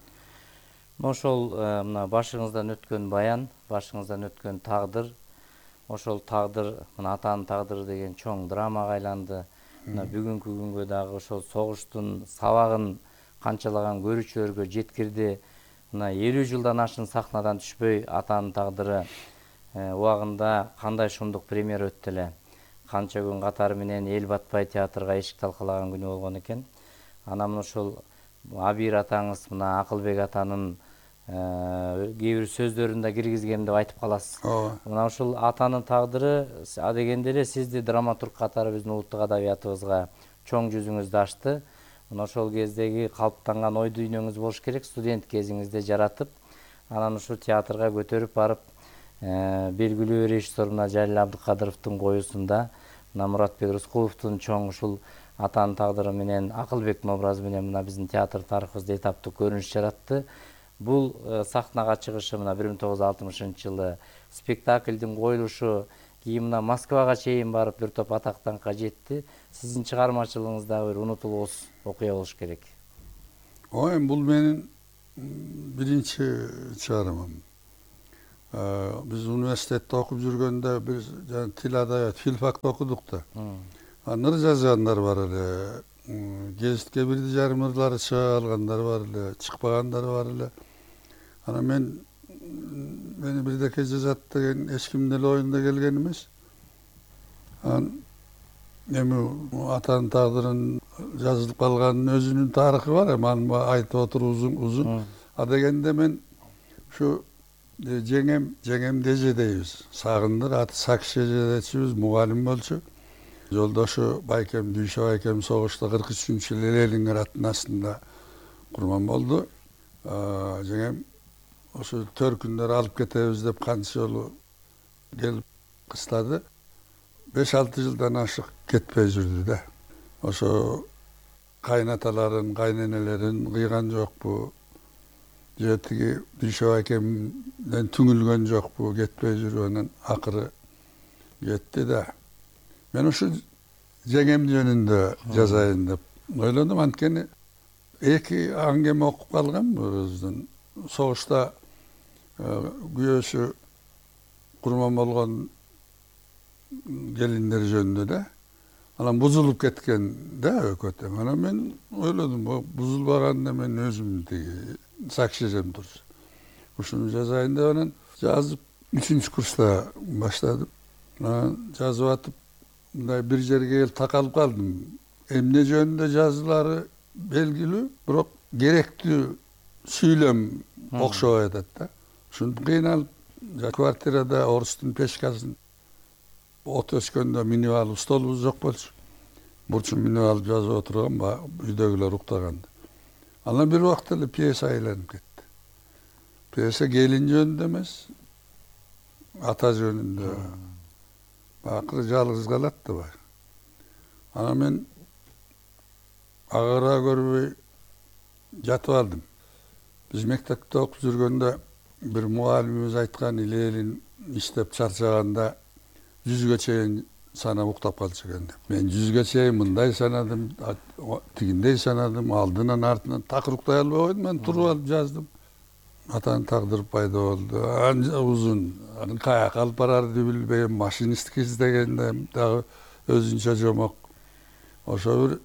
S9: Ошол мына башыңыздан өткөн баян, башыңыздан өткөн тагдыр, ошол тагдыр, мына атанын тагдыры деген чоң драмага айланды. Мына бүгүнкү күнгө дагы ошол согуштун сабагын канчалаган көрүүчүлөргө жеткирди. Мына элүү жылдан ашын сахнадан түшпөй атанын тагдыры убагында кандай шумдук премьера өттү эле. Канча күн катары менен эл батпай театрга эшик талкалаган күнү болгон экен. Анан ошол Абир атаңыз мына Акылбек атанын кээ бир сөздөрүн да киргизгем деп айтып каласыз. Мына ушул атанын тагдыры адегенде эле сизди драматург катары биздин улуттук адабиятыбызга чоң жүзүңүздү ачты. Мына ошол кездеги калыптанган ой дүйнөңүз болуш керек, студент кезиңизде жаратып, анан ушу театрга көтөрүп барып, белгилүү режиссер мына Жалил Абдыкадыровдун коюусунда, мына Муратбек Рыскуловдун чоң ушул Атанын тагдыры менен Акылбектин образы менен мына биздин театр тарыхыбызда этаптык көрүнүш жаратты. Бул сахнага чыгышы мына бир миң тогуз жүз алтымышынчы жылы спектаклдин коюлушу кийин мына Москвага чейин барып бир топ атактанга жетти. Сиздин чыгармачылыгыңызда бир унутулуус окуя болуш керек.
S10: Ой, бул менин биринчи чыгармам. Биз университетте окуп жүргөндө биз тил адабият филфакты окудук да. Ныр жазгандар бар эле, гезитке бирди жарым ырлары чыга калгандар бар эле, чыкпагандар бар эле. Анан мен мени бирдеке жазат деген эч кимдин эле оюнда келген эмес. Анан эми атанын тагдырын жазылып калганын өзүнүн тарыхы бар, эми аны айтып отуруп узун узун. А дегенде мен ушу жеңем, жеңем деже дейбиз. Сагындыр, аты Сакшы эжедечибиз, мугалим болчу. Жолдошу Байкем, Дүйшө Байкем согушта кырк үчүнчү жылы Ленинград аттын астында курман болду. Жеңем ошо төркүндөр алып кетебиз деп канча жолу келип кыстады. беш алты жылдан ашык кетпей жүрдү да. Ошо кайнаталарын, кайненелерин кыйган жокпу? Же тиги Дүйшө Байкемден түңүлгөн жокпу? Кетпей жүрүп анан акыры кетти да. Мен ушу жеңем жөнүндө жазайын деп ойлодум. Анткени эки аңгеме окуп калгам өзүнүн. Согушта күйөөсү курман болгон келиндер жөнүндө да. Анан бузулуп кеткен да өкөт. Анан мен ойлодум, бузулбаганда мен өзүм тиги Сакшы эжем турчу. Ушуну жазайын деп анан жазып үчүнчү курста баштадым. Анан жазып атып мындай бир жерге келип такалып калдым. Эмне жөнүндө жазылары белгилүү, бирок керектүү сүйлөм окшобой атат да. Ушинтип кыйналып, квартирада орустун печкасын от өчкөндө минип алып, столубуз жок болчу. Бурчун минип алып жазып отурган, үйдөгүлөр уктаганда. Анан бир убакта эле пьеса айланып кетти. Пьеса келин жөнүндө эмес, ата жөнүндө. Акыры жалгыз калат да бар. Анан мен агыра көрбөй жатып алдым. Биз мектепте окуп жүргөндө бир мугалимибиз айткан, Илелин иштеп чарчаганда жүзгө чейин санап уктап калчу экен деп. Мен жүзгө чейин мындай санадым, тигиндей санадым, алдынан артынан такыр уктай албай койдум, мен туруп алып жаздым. Атанын тагдыры пайда болду. Анча узун, анын каяка алып барарды билбейм, машинистке издегенде дагы өзүнчө жомок. Ошо бир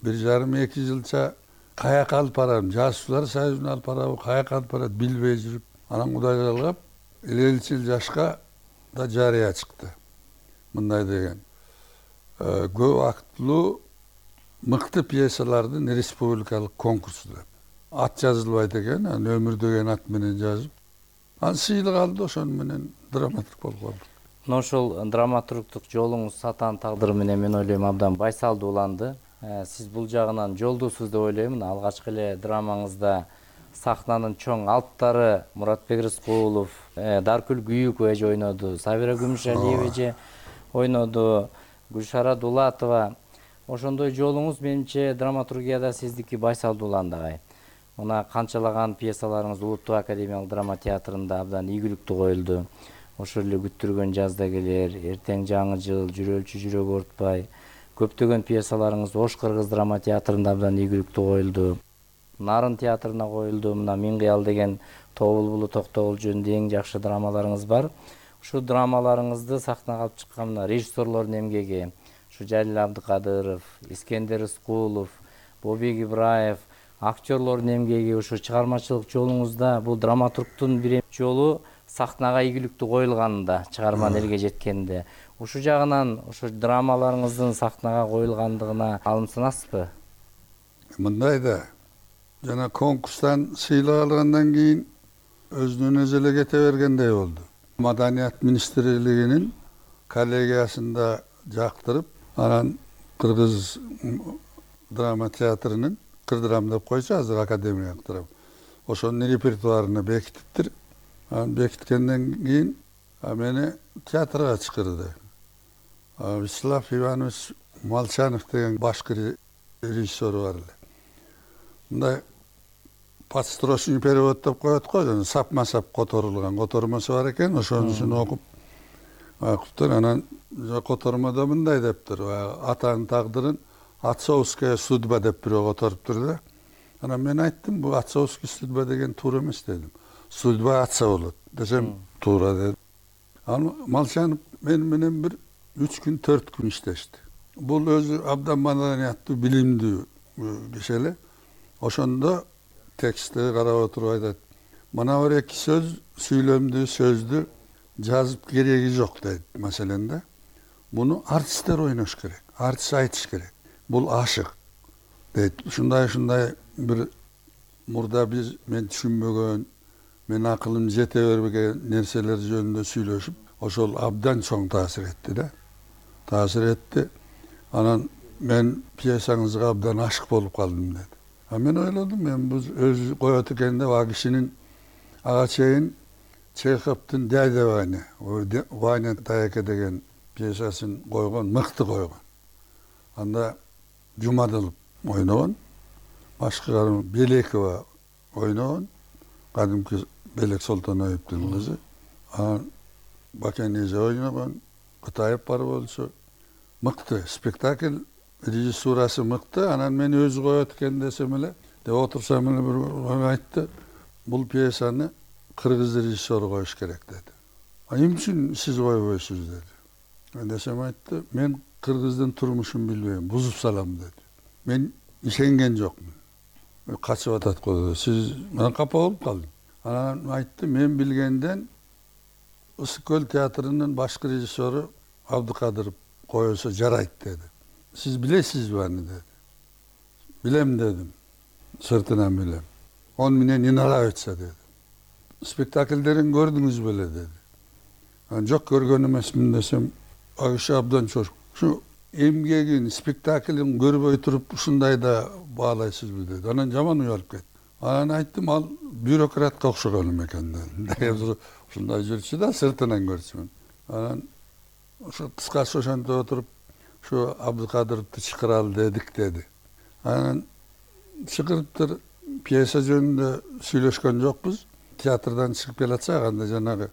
S10: бир жарым эки жылча каяка алып барам, жазуучулар союзуна алып барабы, каяка алып барат билбей жүрүп, анан Кудай калгап, элүү жыл жашка да жарыя чыкты. Мындай деген. Көп актылуу мыкты пьесалардын республикалык конкурсу деп. Ат жазылбайт экен, анан өмүр деген ат менен жазып, анан сыйлык алды, ошону менен драматург болуп калды.
S9: Мына ошол драматургдук жолуңуз Атанын тагдыры менен мен ойлойм абдан байсалдуу уланды. Сиз бул жагынан жолдусуз деп ойлойм. Алгачкы эле драмаңызда сахнанын чоң алыптары Муратбек Рыскулов, Даркүл Күйүкова эже ойноду, Сабира Күмүшалиева эже ойноду, Гүлшара Дулатова. Ошондой жолуңуз менимче драматургияда сиздики байсалдуу уланды агай. Мына канчалаган пьесаларыңыз Улуттук академиялык драма театрында абдан ийгиликтүү коюлду. Ошол эле Күттүргөн жазда келер, Эртең жаңы жыл, Жүрөлчү жүрөк оортпай. Көптөгөн пьесаларыңыз Ош кыргыз драма театрында абдан ийгиликтүү коюлду. Нарын театрына коюлду. Мына Миң кыял деген Тобулбулу Токтогул жөнүндө эң жакшы драмаларыңыз бар. Ушу драмаларыңызды сахнага алып чыккан мына режиссерлордун эмгеги, ушу Жалил Абдыкадыров, Искендер Рыскулов, Бобек Ибраев, актерлордун эмгеги, ушу чыгармачылык жолуңузда бул драматургдун бир жолу сахнага ийгиликтүү коюлганында, чыгарманы элге жеткенде, ушу жагынан ушу драмаларыңыздын сахнага коюлгандыгына алым санасызбы?
S10: Мындай да, жана конкурстан сыйлык алгандан кийин өзүнөн өзү эле кете бергендей болду. Маданият министрлигинин коллегиясында жактырып, анан Кыргыз драма театрынын Кырдрам деп койчу, азыр академиялык драма. Ошонун репертуарына бекитиптир. Анан бекиткенден кийин мени театрга чакырды. Вячеслав Иванович Малчанов деген башкы режиссер бар эле. Мындай подстрочный перевод деп коет го, жана сапма сап которулган котормосу бар экен, ошонусун окуп окуптур. Анан котормодо мындай дептир: атанын тагдырын отцовская судьба деп бирөө которуптур да. Анан мен айттым, бул отцовский судьба деген туура эмес дедим. Судьба отца болот десем, туура деди. Ал Малчанов мен менен бир үч күн, төрт күн иштешти. Бул өзү абдан маданияттуу, билимдүү киши эле. Ошондо текстти карап отуруп айтат: мына бир эки сөз, сүйлөмдүү сөздү жазып кереги жок дейт. Маселен да, муну артисттер ойнош керек, артист айтыш керек. Бул ашык дейт. Ушундай ушундай бир мурда биз мен түшүнбөгөн, мен акылым жете бербеген нерселер жөнүндө сүйлөшүп, ошол абдан чоң таасир этти да. Таасир этти. Анан мен пьесаңызга абдан ашык болуп калдым деди. А мен ойлодум, мен бул өзү коет экен деп, а кишинин ага чейин Чеховдун Дядя Ваня, Ваня Таяке деген пьесасын койгон, мыкты койгон. Анда Жумадылов ойногон, башкы Белекова ойногон, кадимки Белек Солтоноевдун кызы. Анан Бакенеже ойногон, Кытаев бар болчу. Мыкты спектакль, режиссурасы мыкты. Анан мен өзү коет экен десем эле, деп отурсам эле бир айтты: бул пьесаны кыргыз режиссеру коюш керек деди. А эмне үчүн сиз койбойсуз деди. Мен десем айтты: мен кыргыздын турмушун билбейм, бузуп салам деди. Мен ишенген жокмун. Качып атат го. Сиз мен капа болуп калдым. Анан айтты: мен билгенден Ысык көл театрынын башкы режиссеру Абдыкадыров коюлса жарайт деди. Сиз билесизби аны деди. Билем дедим. Сыртынан билем. Он мне не нравится деди. Спектакльдерин көрдүңүз беле деди. Анан жок, көргөн эмесмин десем, ал киши абдан чочуп: ушу эмгегин, спектаклин көрбөй туруп ушундай да баалайсызбы деди. Анан жаман уялып кетти. Анан айттым: ал бюрократка окшогон экен деди. Ушундай жүрчү да, сыртынан көрчүмүн. Анан ошо кыскасы ошентип отуруп, ушу Абдыкадыровду чакыралы дедик деди. Анан чакырыптыр, пьеса жөнүндө сүйлөшкөн жокпуз. Театрдан чыгып келатсак, анда жанагы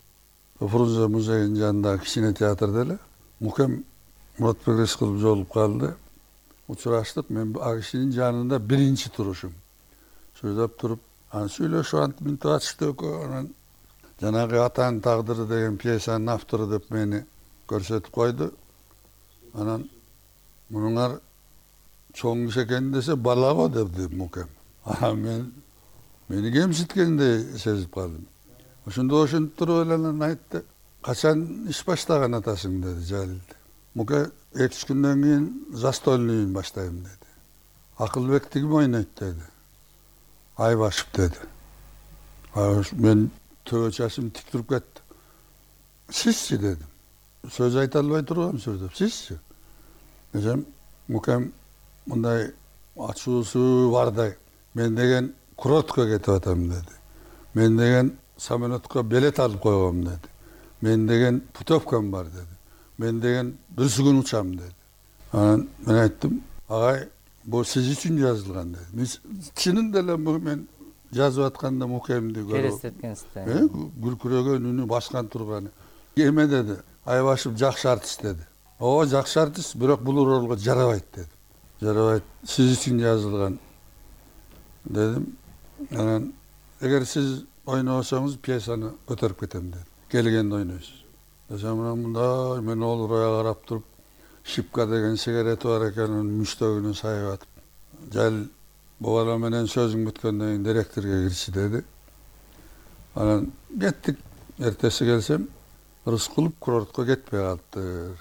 S10: Фрунзе музейинин жанындагы кичине театрда эле Мукем Муратбек Рыскылов жолугуп калды. Учураштык. Мен ал кишинин жанында биринчи турушум. Сүйлөп туруп, анан сүйлөшүп антип мынтип ачты экөө. Анан жанагы Атанын тагдыры деген пьесанын автору деп мени көрсөтүп койду. Анан мунуңар чоң киши экен десе, бала го депти Мукем. А мен мени кемситкендей сезип калдым. Ошондо ошентип туруп эле анан айтты: качан иш баштаган атасың деди Жалил. Муке эки үч күндөн кийин застольныйын баштайм деди. Акылбекти ким ойнойт деди. Айбашев деди. Мен төбө чачым тик туруп кетти. Сизчи дедим. Сөз айта албай тургансыз деп. Сизчи? Десем, Мукем мындай ачуусу бардай: мен деген Курортко кетип атам деди. Мен деген самолетко билет алып койгом деди. Мен деген путевкам бар деди. Мен деген бүрсүгүн учам деди. Анан мен айттым: агай, бул сиз үчүн жазылган деди. Мен чынында эле мен жазып атканда Мукемди көрүп
S9: элестеткенсиз.
S10: Күркүрөгөн үнү, баскан турганы. Эме деди, Айбашев жакшы артист деди. Ооба, жакшы артист, бирок бул ролго жарабайт деди. Жарабайт, сиз үчүн жазылган дедим. Анан эгер сиз ойносоңуз пьесаны көтөрүп кетем деди. Келгенде ойнойсуз. Десем, мындай мен олурая карап туруп, Шипка деген сигарети бар экен, мүчтөгүнө сайып атып: Жалил, бу бала менен сөзүң бүткөндөн кийин директорго кирчи деди. Анан кеттик. Эртеси келсем, Рыскулов курортко кетпей калыптыр.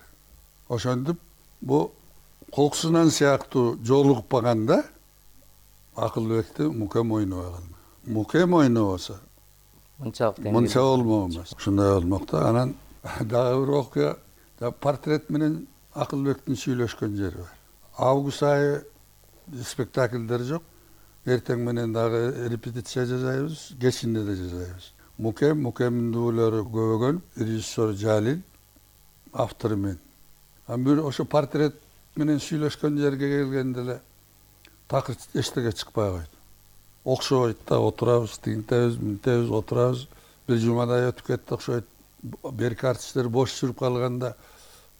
S10: Ошентип, бу Коксунан сыяктуу жолугуп калганда Акылбекти Мукем ойнобой калды. Мукем ойнобосо мынчалык мынча болмок. Ушундай болмок да. Анан дагы бир окуя, портрет менен Акылбектин сүйлөшкөн жери бар. Август айы спектакльдер жок. Эртең менен дагы репетиция жасайбыз, кечинде да жасайбыз. Мукем, Мукемдин дуулары көбөгөн, режиссер Жалил, автору мен. Анан бир ошо портрет менен сүйлөшкөн жерге келгенде эле такыр эчтеке чыкпай койду. Окшобойт да, отурабыз, тигинтебиз, мынтебиз, отурабыз. Бир жумадай өтүп кетти окшойт. Берки артисттер бош жүрүп калганда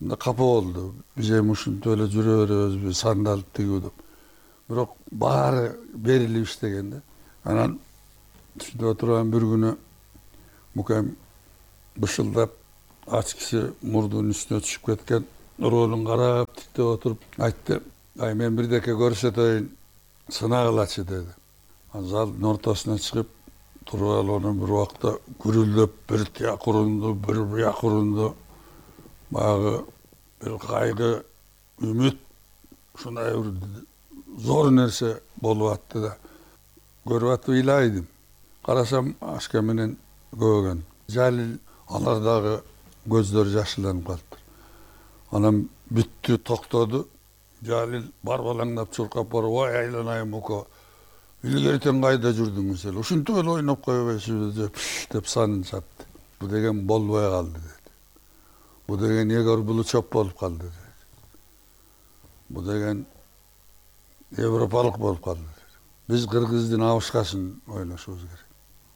S10: мында капа болду. Биз эми ушинтип эле жүрө беребизби, сандалып тигүү деп. Бирок баары берилип иштеген да. Анан ушинтип отурган бир күнү мукем бышылдап ач киши мурдунун үстүнө түшүп кеткен ролун карап тиктеп отуруп айтты: "Ай, мен бирдеке көрсөтөйүн, сынагылачы" деди. Анан залдын ортосуна чыгып туруп алып анан бир убакта гүрүлдөп бир тияк урунду, бир бияк урунду. Баягы бир кайгы, үмүт ушундай бир зор нерсе болуп атты да. Көрүп атып ыйлайдым. Карасам ашка менен көөгөн. Жалил алар дагы көздөрү жашылданып калыптыр. Анан бүттү, токтоду. Жалил барбалаңдап чуркап барып: "Ой, айланайын Муко. Илгертен кайда жүрдүңүз эле? Ушинтип эле ойноп койбойсузбу?" деп деп санын чапты. Бу деген болбой калды деди. Бу деген Егор Булучев болуп калды деди. Бу деген европалык болуп калды деди. Биз кыргыздын абышкасын ойношубуз керек.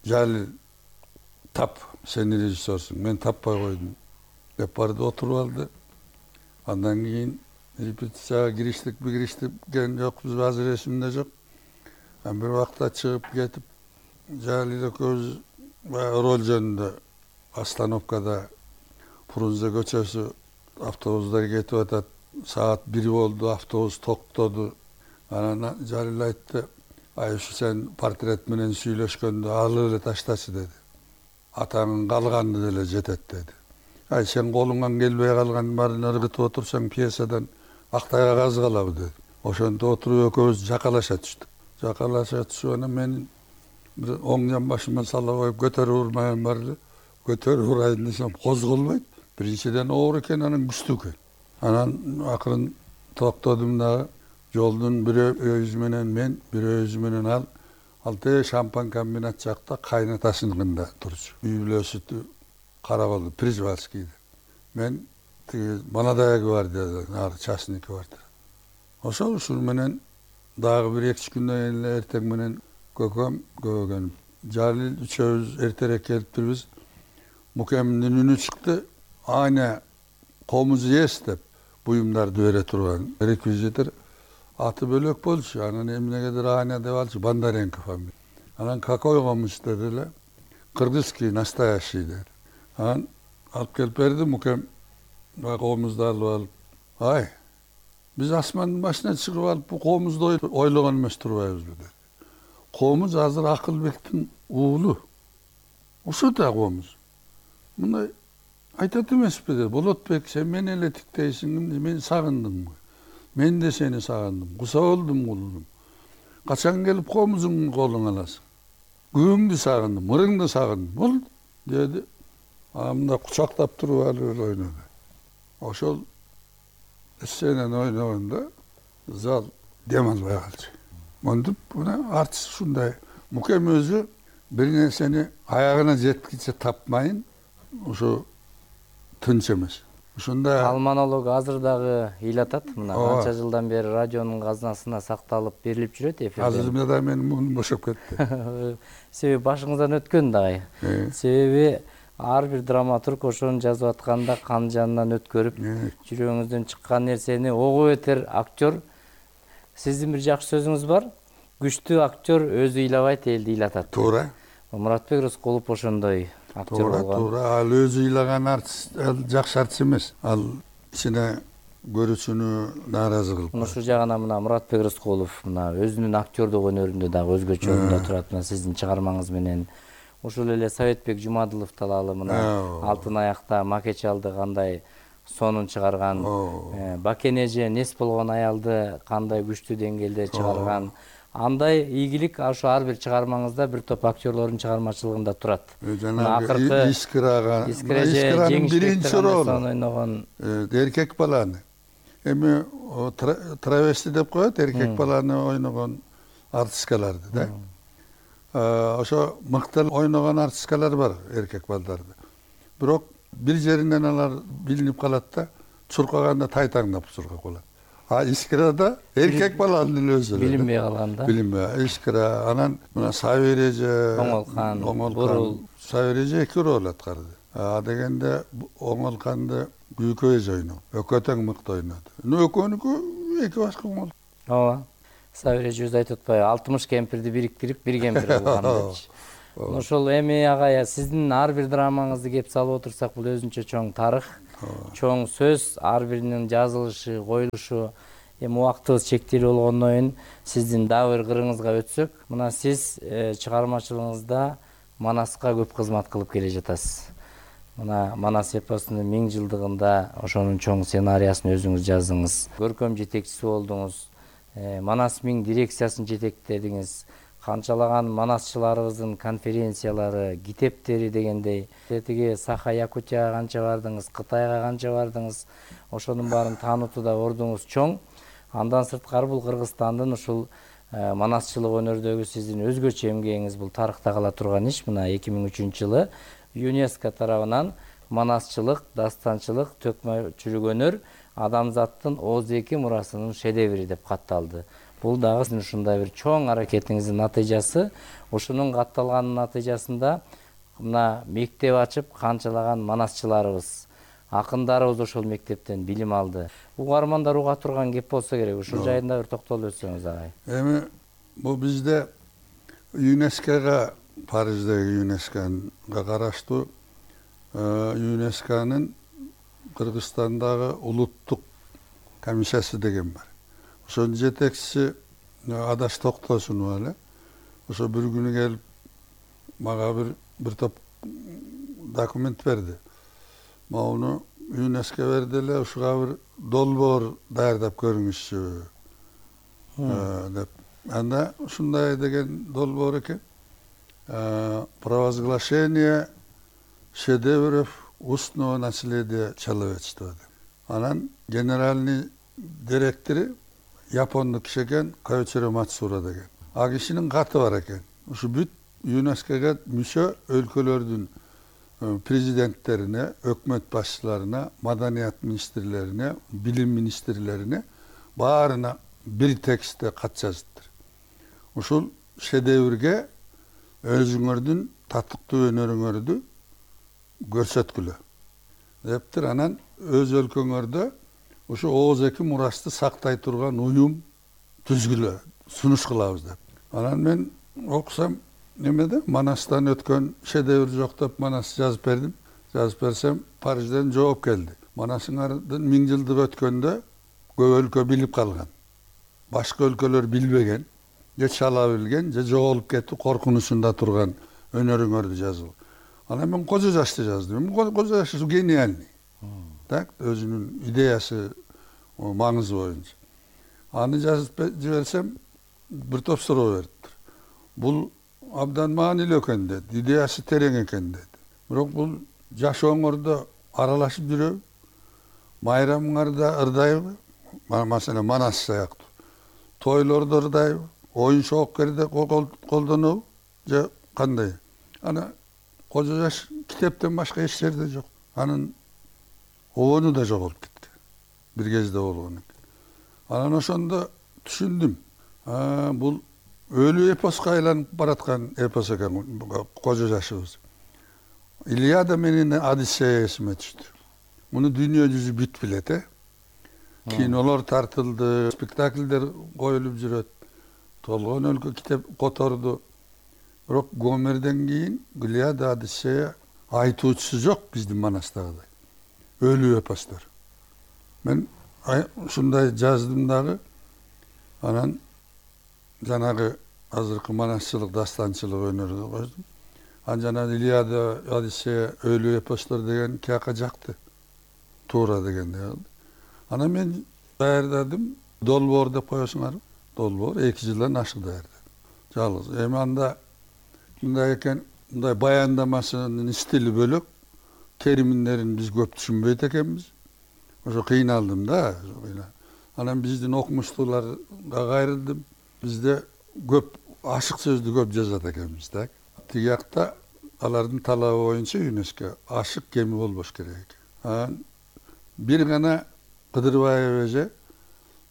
S10: Жалил тап, сен режиссерсуң, мен таппай койдум деп барды, отуруп алды. Андан кийин репетицияга кириштик, кириштиккен жокпуз, азыр эсимде жок. Анан бир убакта чыгып кетип, Жалил экөөбүз роль жөнүндө остановкада Фрунзе көчөсү, автобустар кетип атат. Саат бир болду, автобус токтоду. Анан Жалил айтты: "Ай, ушу сен портрет менен сүйлөшкөндө алып эле таштачы" деди. "Атаңын калганы деле жетет" деди. "Ай, сен колуңан келбей калган баарын ыргытып отурсаң, пьесадан актай кагаз калабы" деди. Ошентип отуруп экөөбүз жакалаша түштүк. Жакалаша түшүп анан мен бир оң жамбашыма сала коюп көтөрүп урмайм бар эле. Көтөрүп урайын десем козголбойт. Биринчиден оор экен, анан күчтүү экен. Анан акырын токтодум дагы. Жолдун бир өзү менен мен, бир өзү менен ал, ал те шампан комбинат жакта кайнатасыныкында турчу. Үй бүлөсү Карабалды, Прижвальскийде. Мен тиги Молодая гвардияда, нары частный квартира. Ошол ушул менен дагы бир эки үч күндөн кийин эле эртең менен көкөм көөгөн. Жалил үчөөбүз эртерээк келиптирбиз. Мукемдин үнү чыкты. Айна комуз ес деп буюмдарды бере турган реквизитор аты бөлөк болчу. Анан эмнегедир Айна деп алчу, Бондаренко фамилия. Анан какой комуз деди эле. Кыргызский, настоящий деди. Анан алып келип берди. Мукем комузду алып алып: "Ай, биз асмандын башына чыгып алып бу комузду ойлогон эмес турбайбызбы" деди. "Комуз азыр Акылбектин уулу. Ушул да комуз. Мындай айтат эмеспи" деди. "Болотбек, сен мени эле тиктейсиң, мен сагындым. Мен да сени сагындым. Куса болдум кулдум. Качан келип комузуңду колуңа аласың? Күйөөңдү сагындым, мырыңды сагындым" болду деди. Амында кучактап туруп алып эле ойноду. Ошол сценаны ойногондо зал дем албай калчу. Монтип мына артист ушундай. Мукем өзү бир нерсени аягына жеткиче тапмайын, ошо тынч эмес. Ушундай
S9: ал монолог азыр дагы ыйлатат. Мына канча жылдан бери радионун казынасына сакталып берилип жүрөт эфирде.
S10: Азыр да менин муңум бошоп кетти.
S9: Себеби башыңыздан өткөн дагы. Себеби ар бир драматург ошону жазып атканда кан жанынан өткөрүп, жүрөгүңүздөн чыккан нерсени огуп этер актер. Сиздин бир жакшы сөзүңүз бар. Күчтүү актер өзү ыйлабайт, элди ыйлатат.
S10: Туура.
S9: Муратбек Рыскулов ошондой актер болгон.
S10: Туура, туура. Ал өзү ыйлаган артист, ал жакшы артист эмес. Ал ичине көрүүчүнү нааразы кылып.
S9: Ушул жагынан мына Муратбек Рыскулов мына өзүнүн актердук өнөрүндө дагы өзгөчө орунда турат. Мына сиздин чыгармаңыз менен ушул эле Советбек Жумадылов талаалы мына Алтын аякта макет чалды кандай сонун чыгарган, Бакен эже нес болгон аялды кандай күчтүү деңгээлде чыгарган. Андай ийгилик ошо ар бир чыгармаңызда бир топ актерлордун чыгармачылыгында турат.
S10: Жанагы Искирага, Искиранын биринчи ролу ойногон эркек баланы. Эми травести деп коет, эркек баланы ойногон артисткаларды да. Ошо мыкты ойногон артисткалар бар эркек балдарды. Бирок бир жеринен алар билинип калат да, чуркаганда тайтаңдап чуркап калат. А искрада эркек баланын эле өзү
S9: билинбей калган да.
S10: Билинбей. Искра анан мына Сабиреже,
S9: Оңолкан,
S10: Бурул.
S9: Бурул.
S10: Сабиреже эки роль аткарды. А дегенде Оңолканды Гүйкө эже ойногон. Экөө тең мыкты ойноду. Экөөнүкү эки башка оңол.
S9: Ооба. Сабиреже өзү айтып атпайбы, алтымыш кемпирди бириктирип бир кемпир кылган депчи. Ошол эми ага сиздин ар бир драмаңызды кеп салып отурсак, бул өзүнчө чоң тарых, чоң сөз, ар биринин жазылышы, коюлушу. Эми убактыбыз чектелүү болгондон кийин сиздин дагы бир кырыңызга өтсөк, мына сиз чыгармачылыгыңызда Манаска көп кызмат кылып келе жатасыз. Мына Манас эпосунун миң жылдыгында ошонун чоң сценарийин өзүңүз жаздыңыз. Көркөм жетекчиси болдуңуз. Манас миң дирекциясын жетектедиңиз. Канчалаган манасчыларыбыздын конференциялары, китептери дегендей. Тетиги Саха-Якутияга канча бардыңыз, Кытайга канча бардыңыз. Ошонун баарын таанытууда ордуңуз чоң. Андан сырткары бул Кыргызстандын ушул манасчылык өнөрдөгү сиздин өзгөчө эмгегиңиз, бул тарыхта кала турган иш. Мына эки миң үчүнчү жылы ЮНЕСКО тарабынан манасчылык, дастанчылык, төкмөчүлүк өнөр адамзаттын Оз эки мурасынын шедеври деп катталды. Бул дагы сиздин ушундай бир чоң аракетиңиздин натыйжасы. Ушунун катталганын натыйжасында мына мектеп ачып канчалаган манасчыларыбыз, акындарыбыз ошол мектептен билим алды. Угармандар уга турган кеп болсо керек. Ушул жайында бир токтолуп өтсөңүз агай.
S10: Эми бул бизде ЮНЕСКОга, Париждеги ЮНЕСКОга караштуу ЮНЕСКОнун Кыргызстандагы улуттук комиссиясы деген бар. Ошонун жетекчиси Адаш Токтосунова эле. Ошо бир күнү келип мага бир бир топ документ берди. Мауну ЮНЕСКО берди эле, ушуга бир долбоор даярдап көрүңүзчү деп. Анда ушундай деген долбоор экен. Провозглашение шедевров устного наследия человечества. Анан генеральный директору япондук киши экен, Коичиро Мацура деген. А кишинин каты бар экен. Ушу бүт ЮНЕСКОга мүчө өлкөлөрдүн президенттерине, өкмөт башчыларына, маданият министрлерине, билим министрлерине баарына бир текстте кат жазыптыр. Ушул шедеврге өзүңөрдүн татыктуу өнөрүңөрдү көрсөткүлө дептир. Анан өз өлкөңөрдө ушу Оз эки мурасты сактай турган уюм түзгүлө, сунуш кылабыз деп. Анан мен окусам немеде Манастан өткөн шедевр жок деп Манас жазып бердим. Жазып берсем Парижден жооп келди. Манасыңардын миң жылдыгы өткөндө көп өлкө билип калган. Башка өлкөлөр билбеген, же чала билген, же жоголуп кетип коркунучунда турган өнөрүңөрдү жазып. Анан мен Кожо Жашты жаздым. Кожо Жаш гениальный. Так, өзүнүн идеясы маңызы боюнча. Аны жазып жиберсем бир топ суроо бериптир. Бул абдан маанилүү экен деди, идеясы терең экен деди. Бирок бул жашооңордо аралашып жүрөбү? Майрамыңарда ырдайбы? Маселен Манас сыяктуу. Тойлордо ырдайбы? Оюн шоокерде колдонобу? Же кандай? Ана Кожо Жаш китептен башка эч жерде жок. Анын обону да жоголуп кеткен. Бир кезде болгон экен. Анан ошондо түшүндүм. Бул өлүү эпоска айланып бараткан эпос экен Кожо Жашыбыз. Илиада менен Одиссея эсиме түштү. Муну дүйнө жүзү бүт билет, э? Кинолор тартылды, спектакльдер коюлуп жүрөт. Толгон өлкө китеп которду. Бирок Гомерден кийин Илиада, Одиссея айтуучусу жок биздин Манастагыдай. Өлүү эпостор. Мен ушундай жаздым дагы. Анан жанагы азыркы манасчылык, дастанчылык өнөрү коздум. Анан жана Илиада, Одиссея, өлүү эпостор деген кияка жакты. Туура дегенде. Анан мен даярдадым. Долбоор деп коесуңар. Долбоор эки жылдан ашык даярдадым. Жалгыз. Эми анда мындай экен, мындай баяндамасынын стили бөлөк, терминдерин биз көп түшүнбөйт экенбиз. Ошо кыйналдым да. Анан биздин окумуштууларга кайрылдым. Бизде көп ашык сөздү көп жазат экенбиз, так. Тиги жакта алардын талабы боюнча ЮНЕСКО ашык кеми болбош керек экен. Анан бир гана Кыдырбаев эже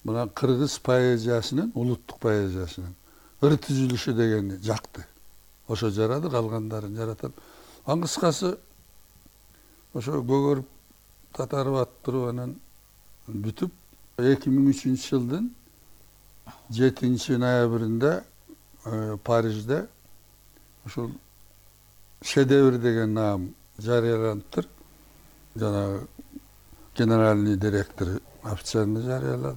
S10: мына кыргыз поэзиясынын, улуттук поэзиясынын ыр түзүлүшү дегени жакты. Ошо жарады, калгандарын жаратат. Ан кыскасы ошо көгөрүп татарып аттырып анан бүтүп эки миң үчүнчү жылдын жетинчи ноябрында Парижде ушул шедевр деген наам жарыяланыптыр. Жанагы генеральный директор официально жарыялады.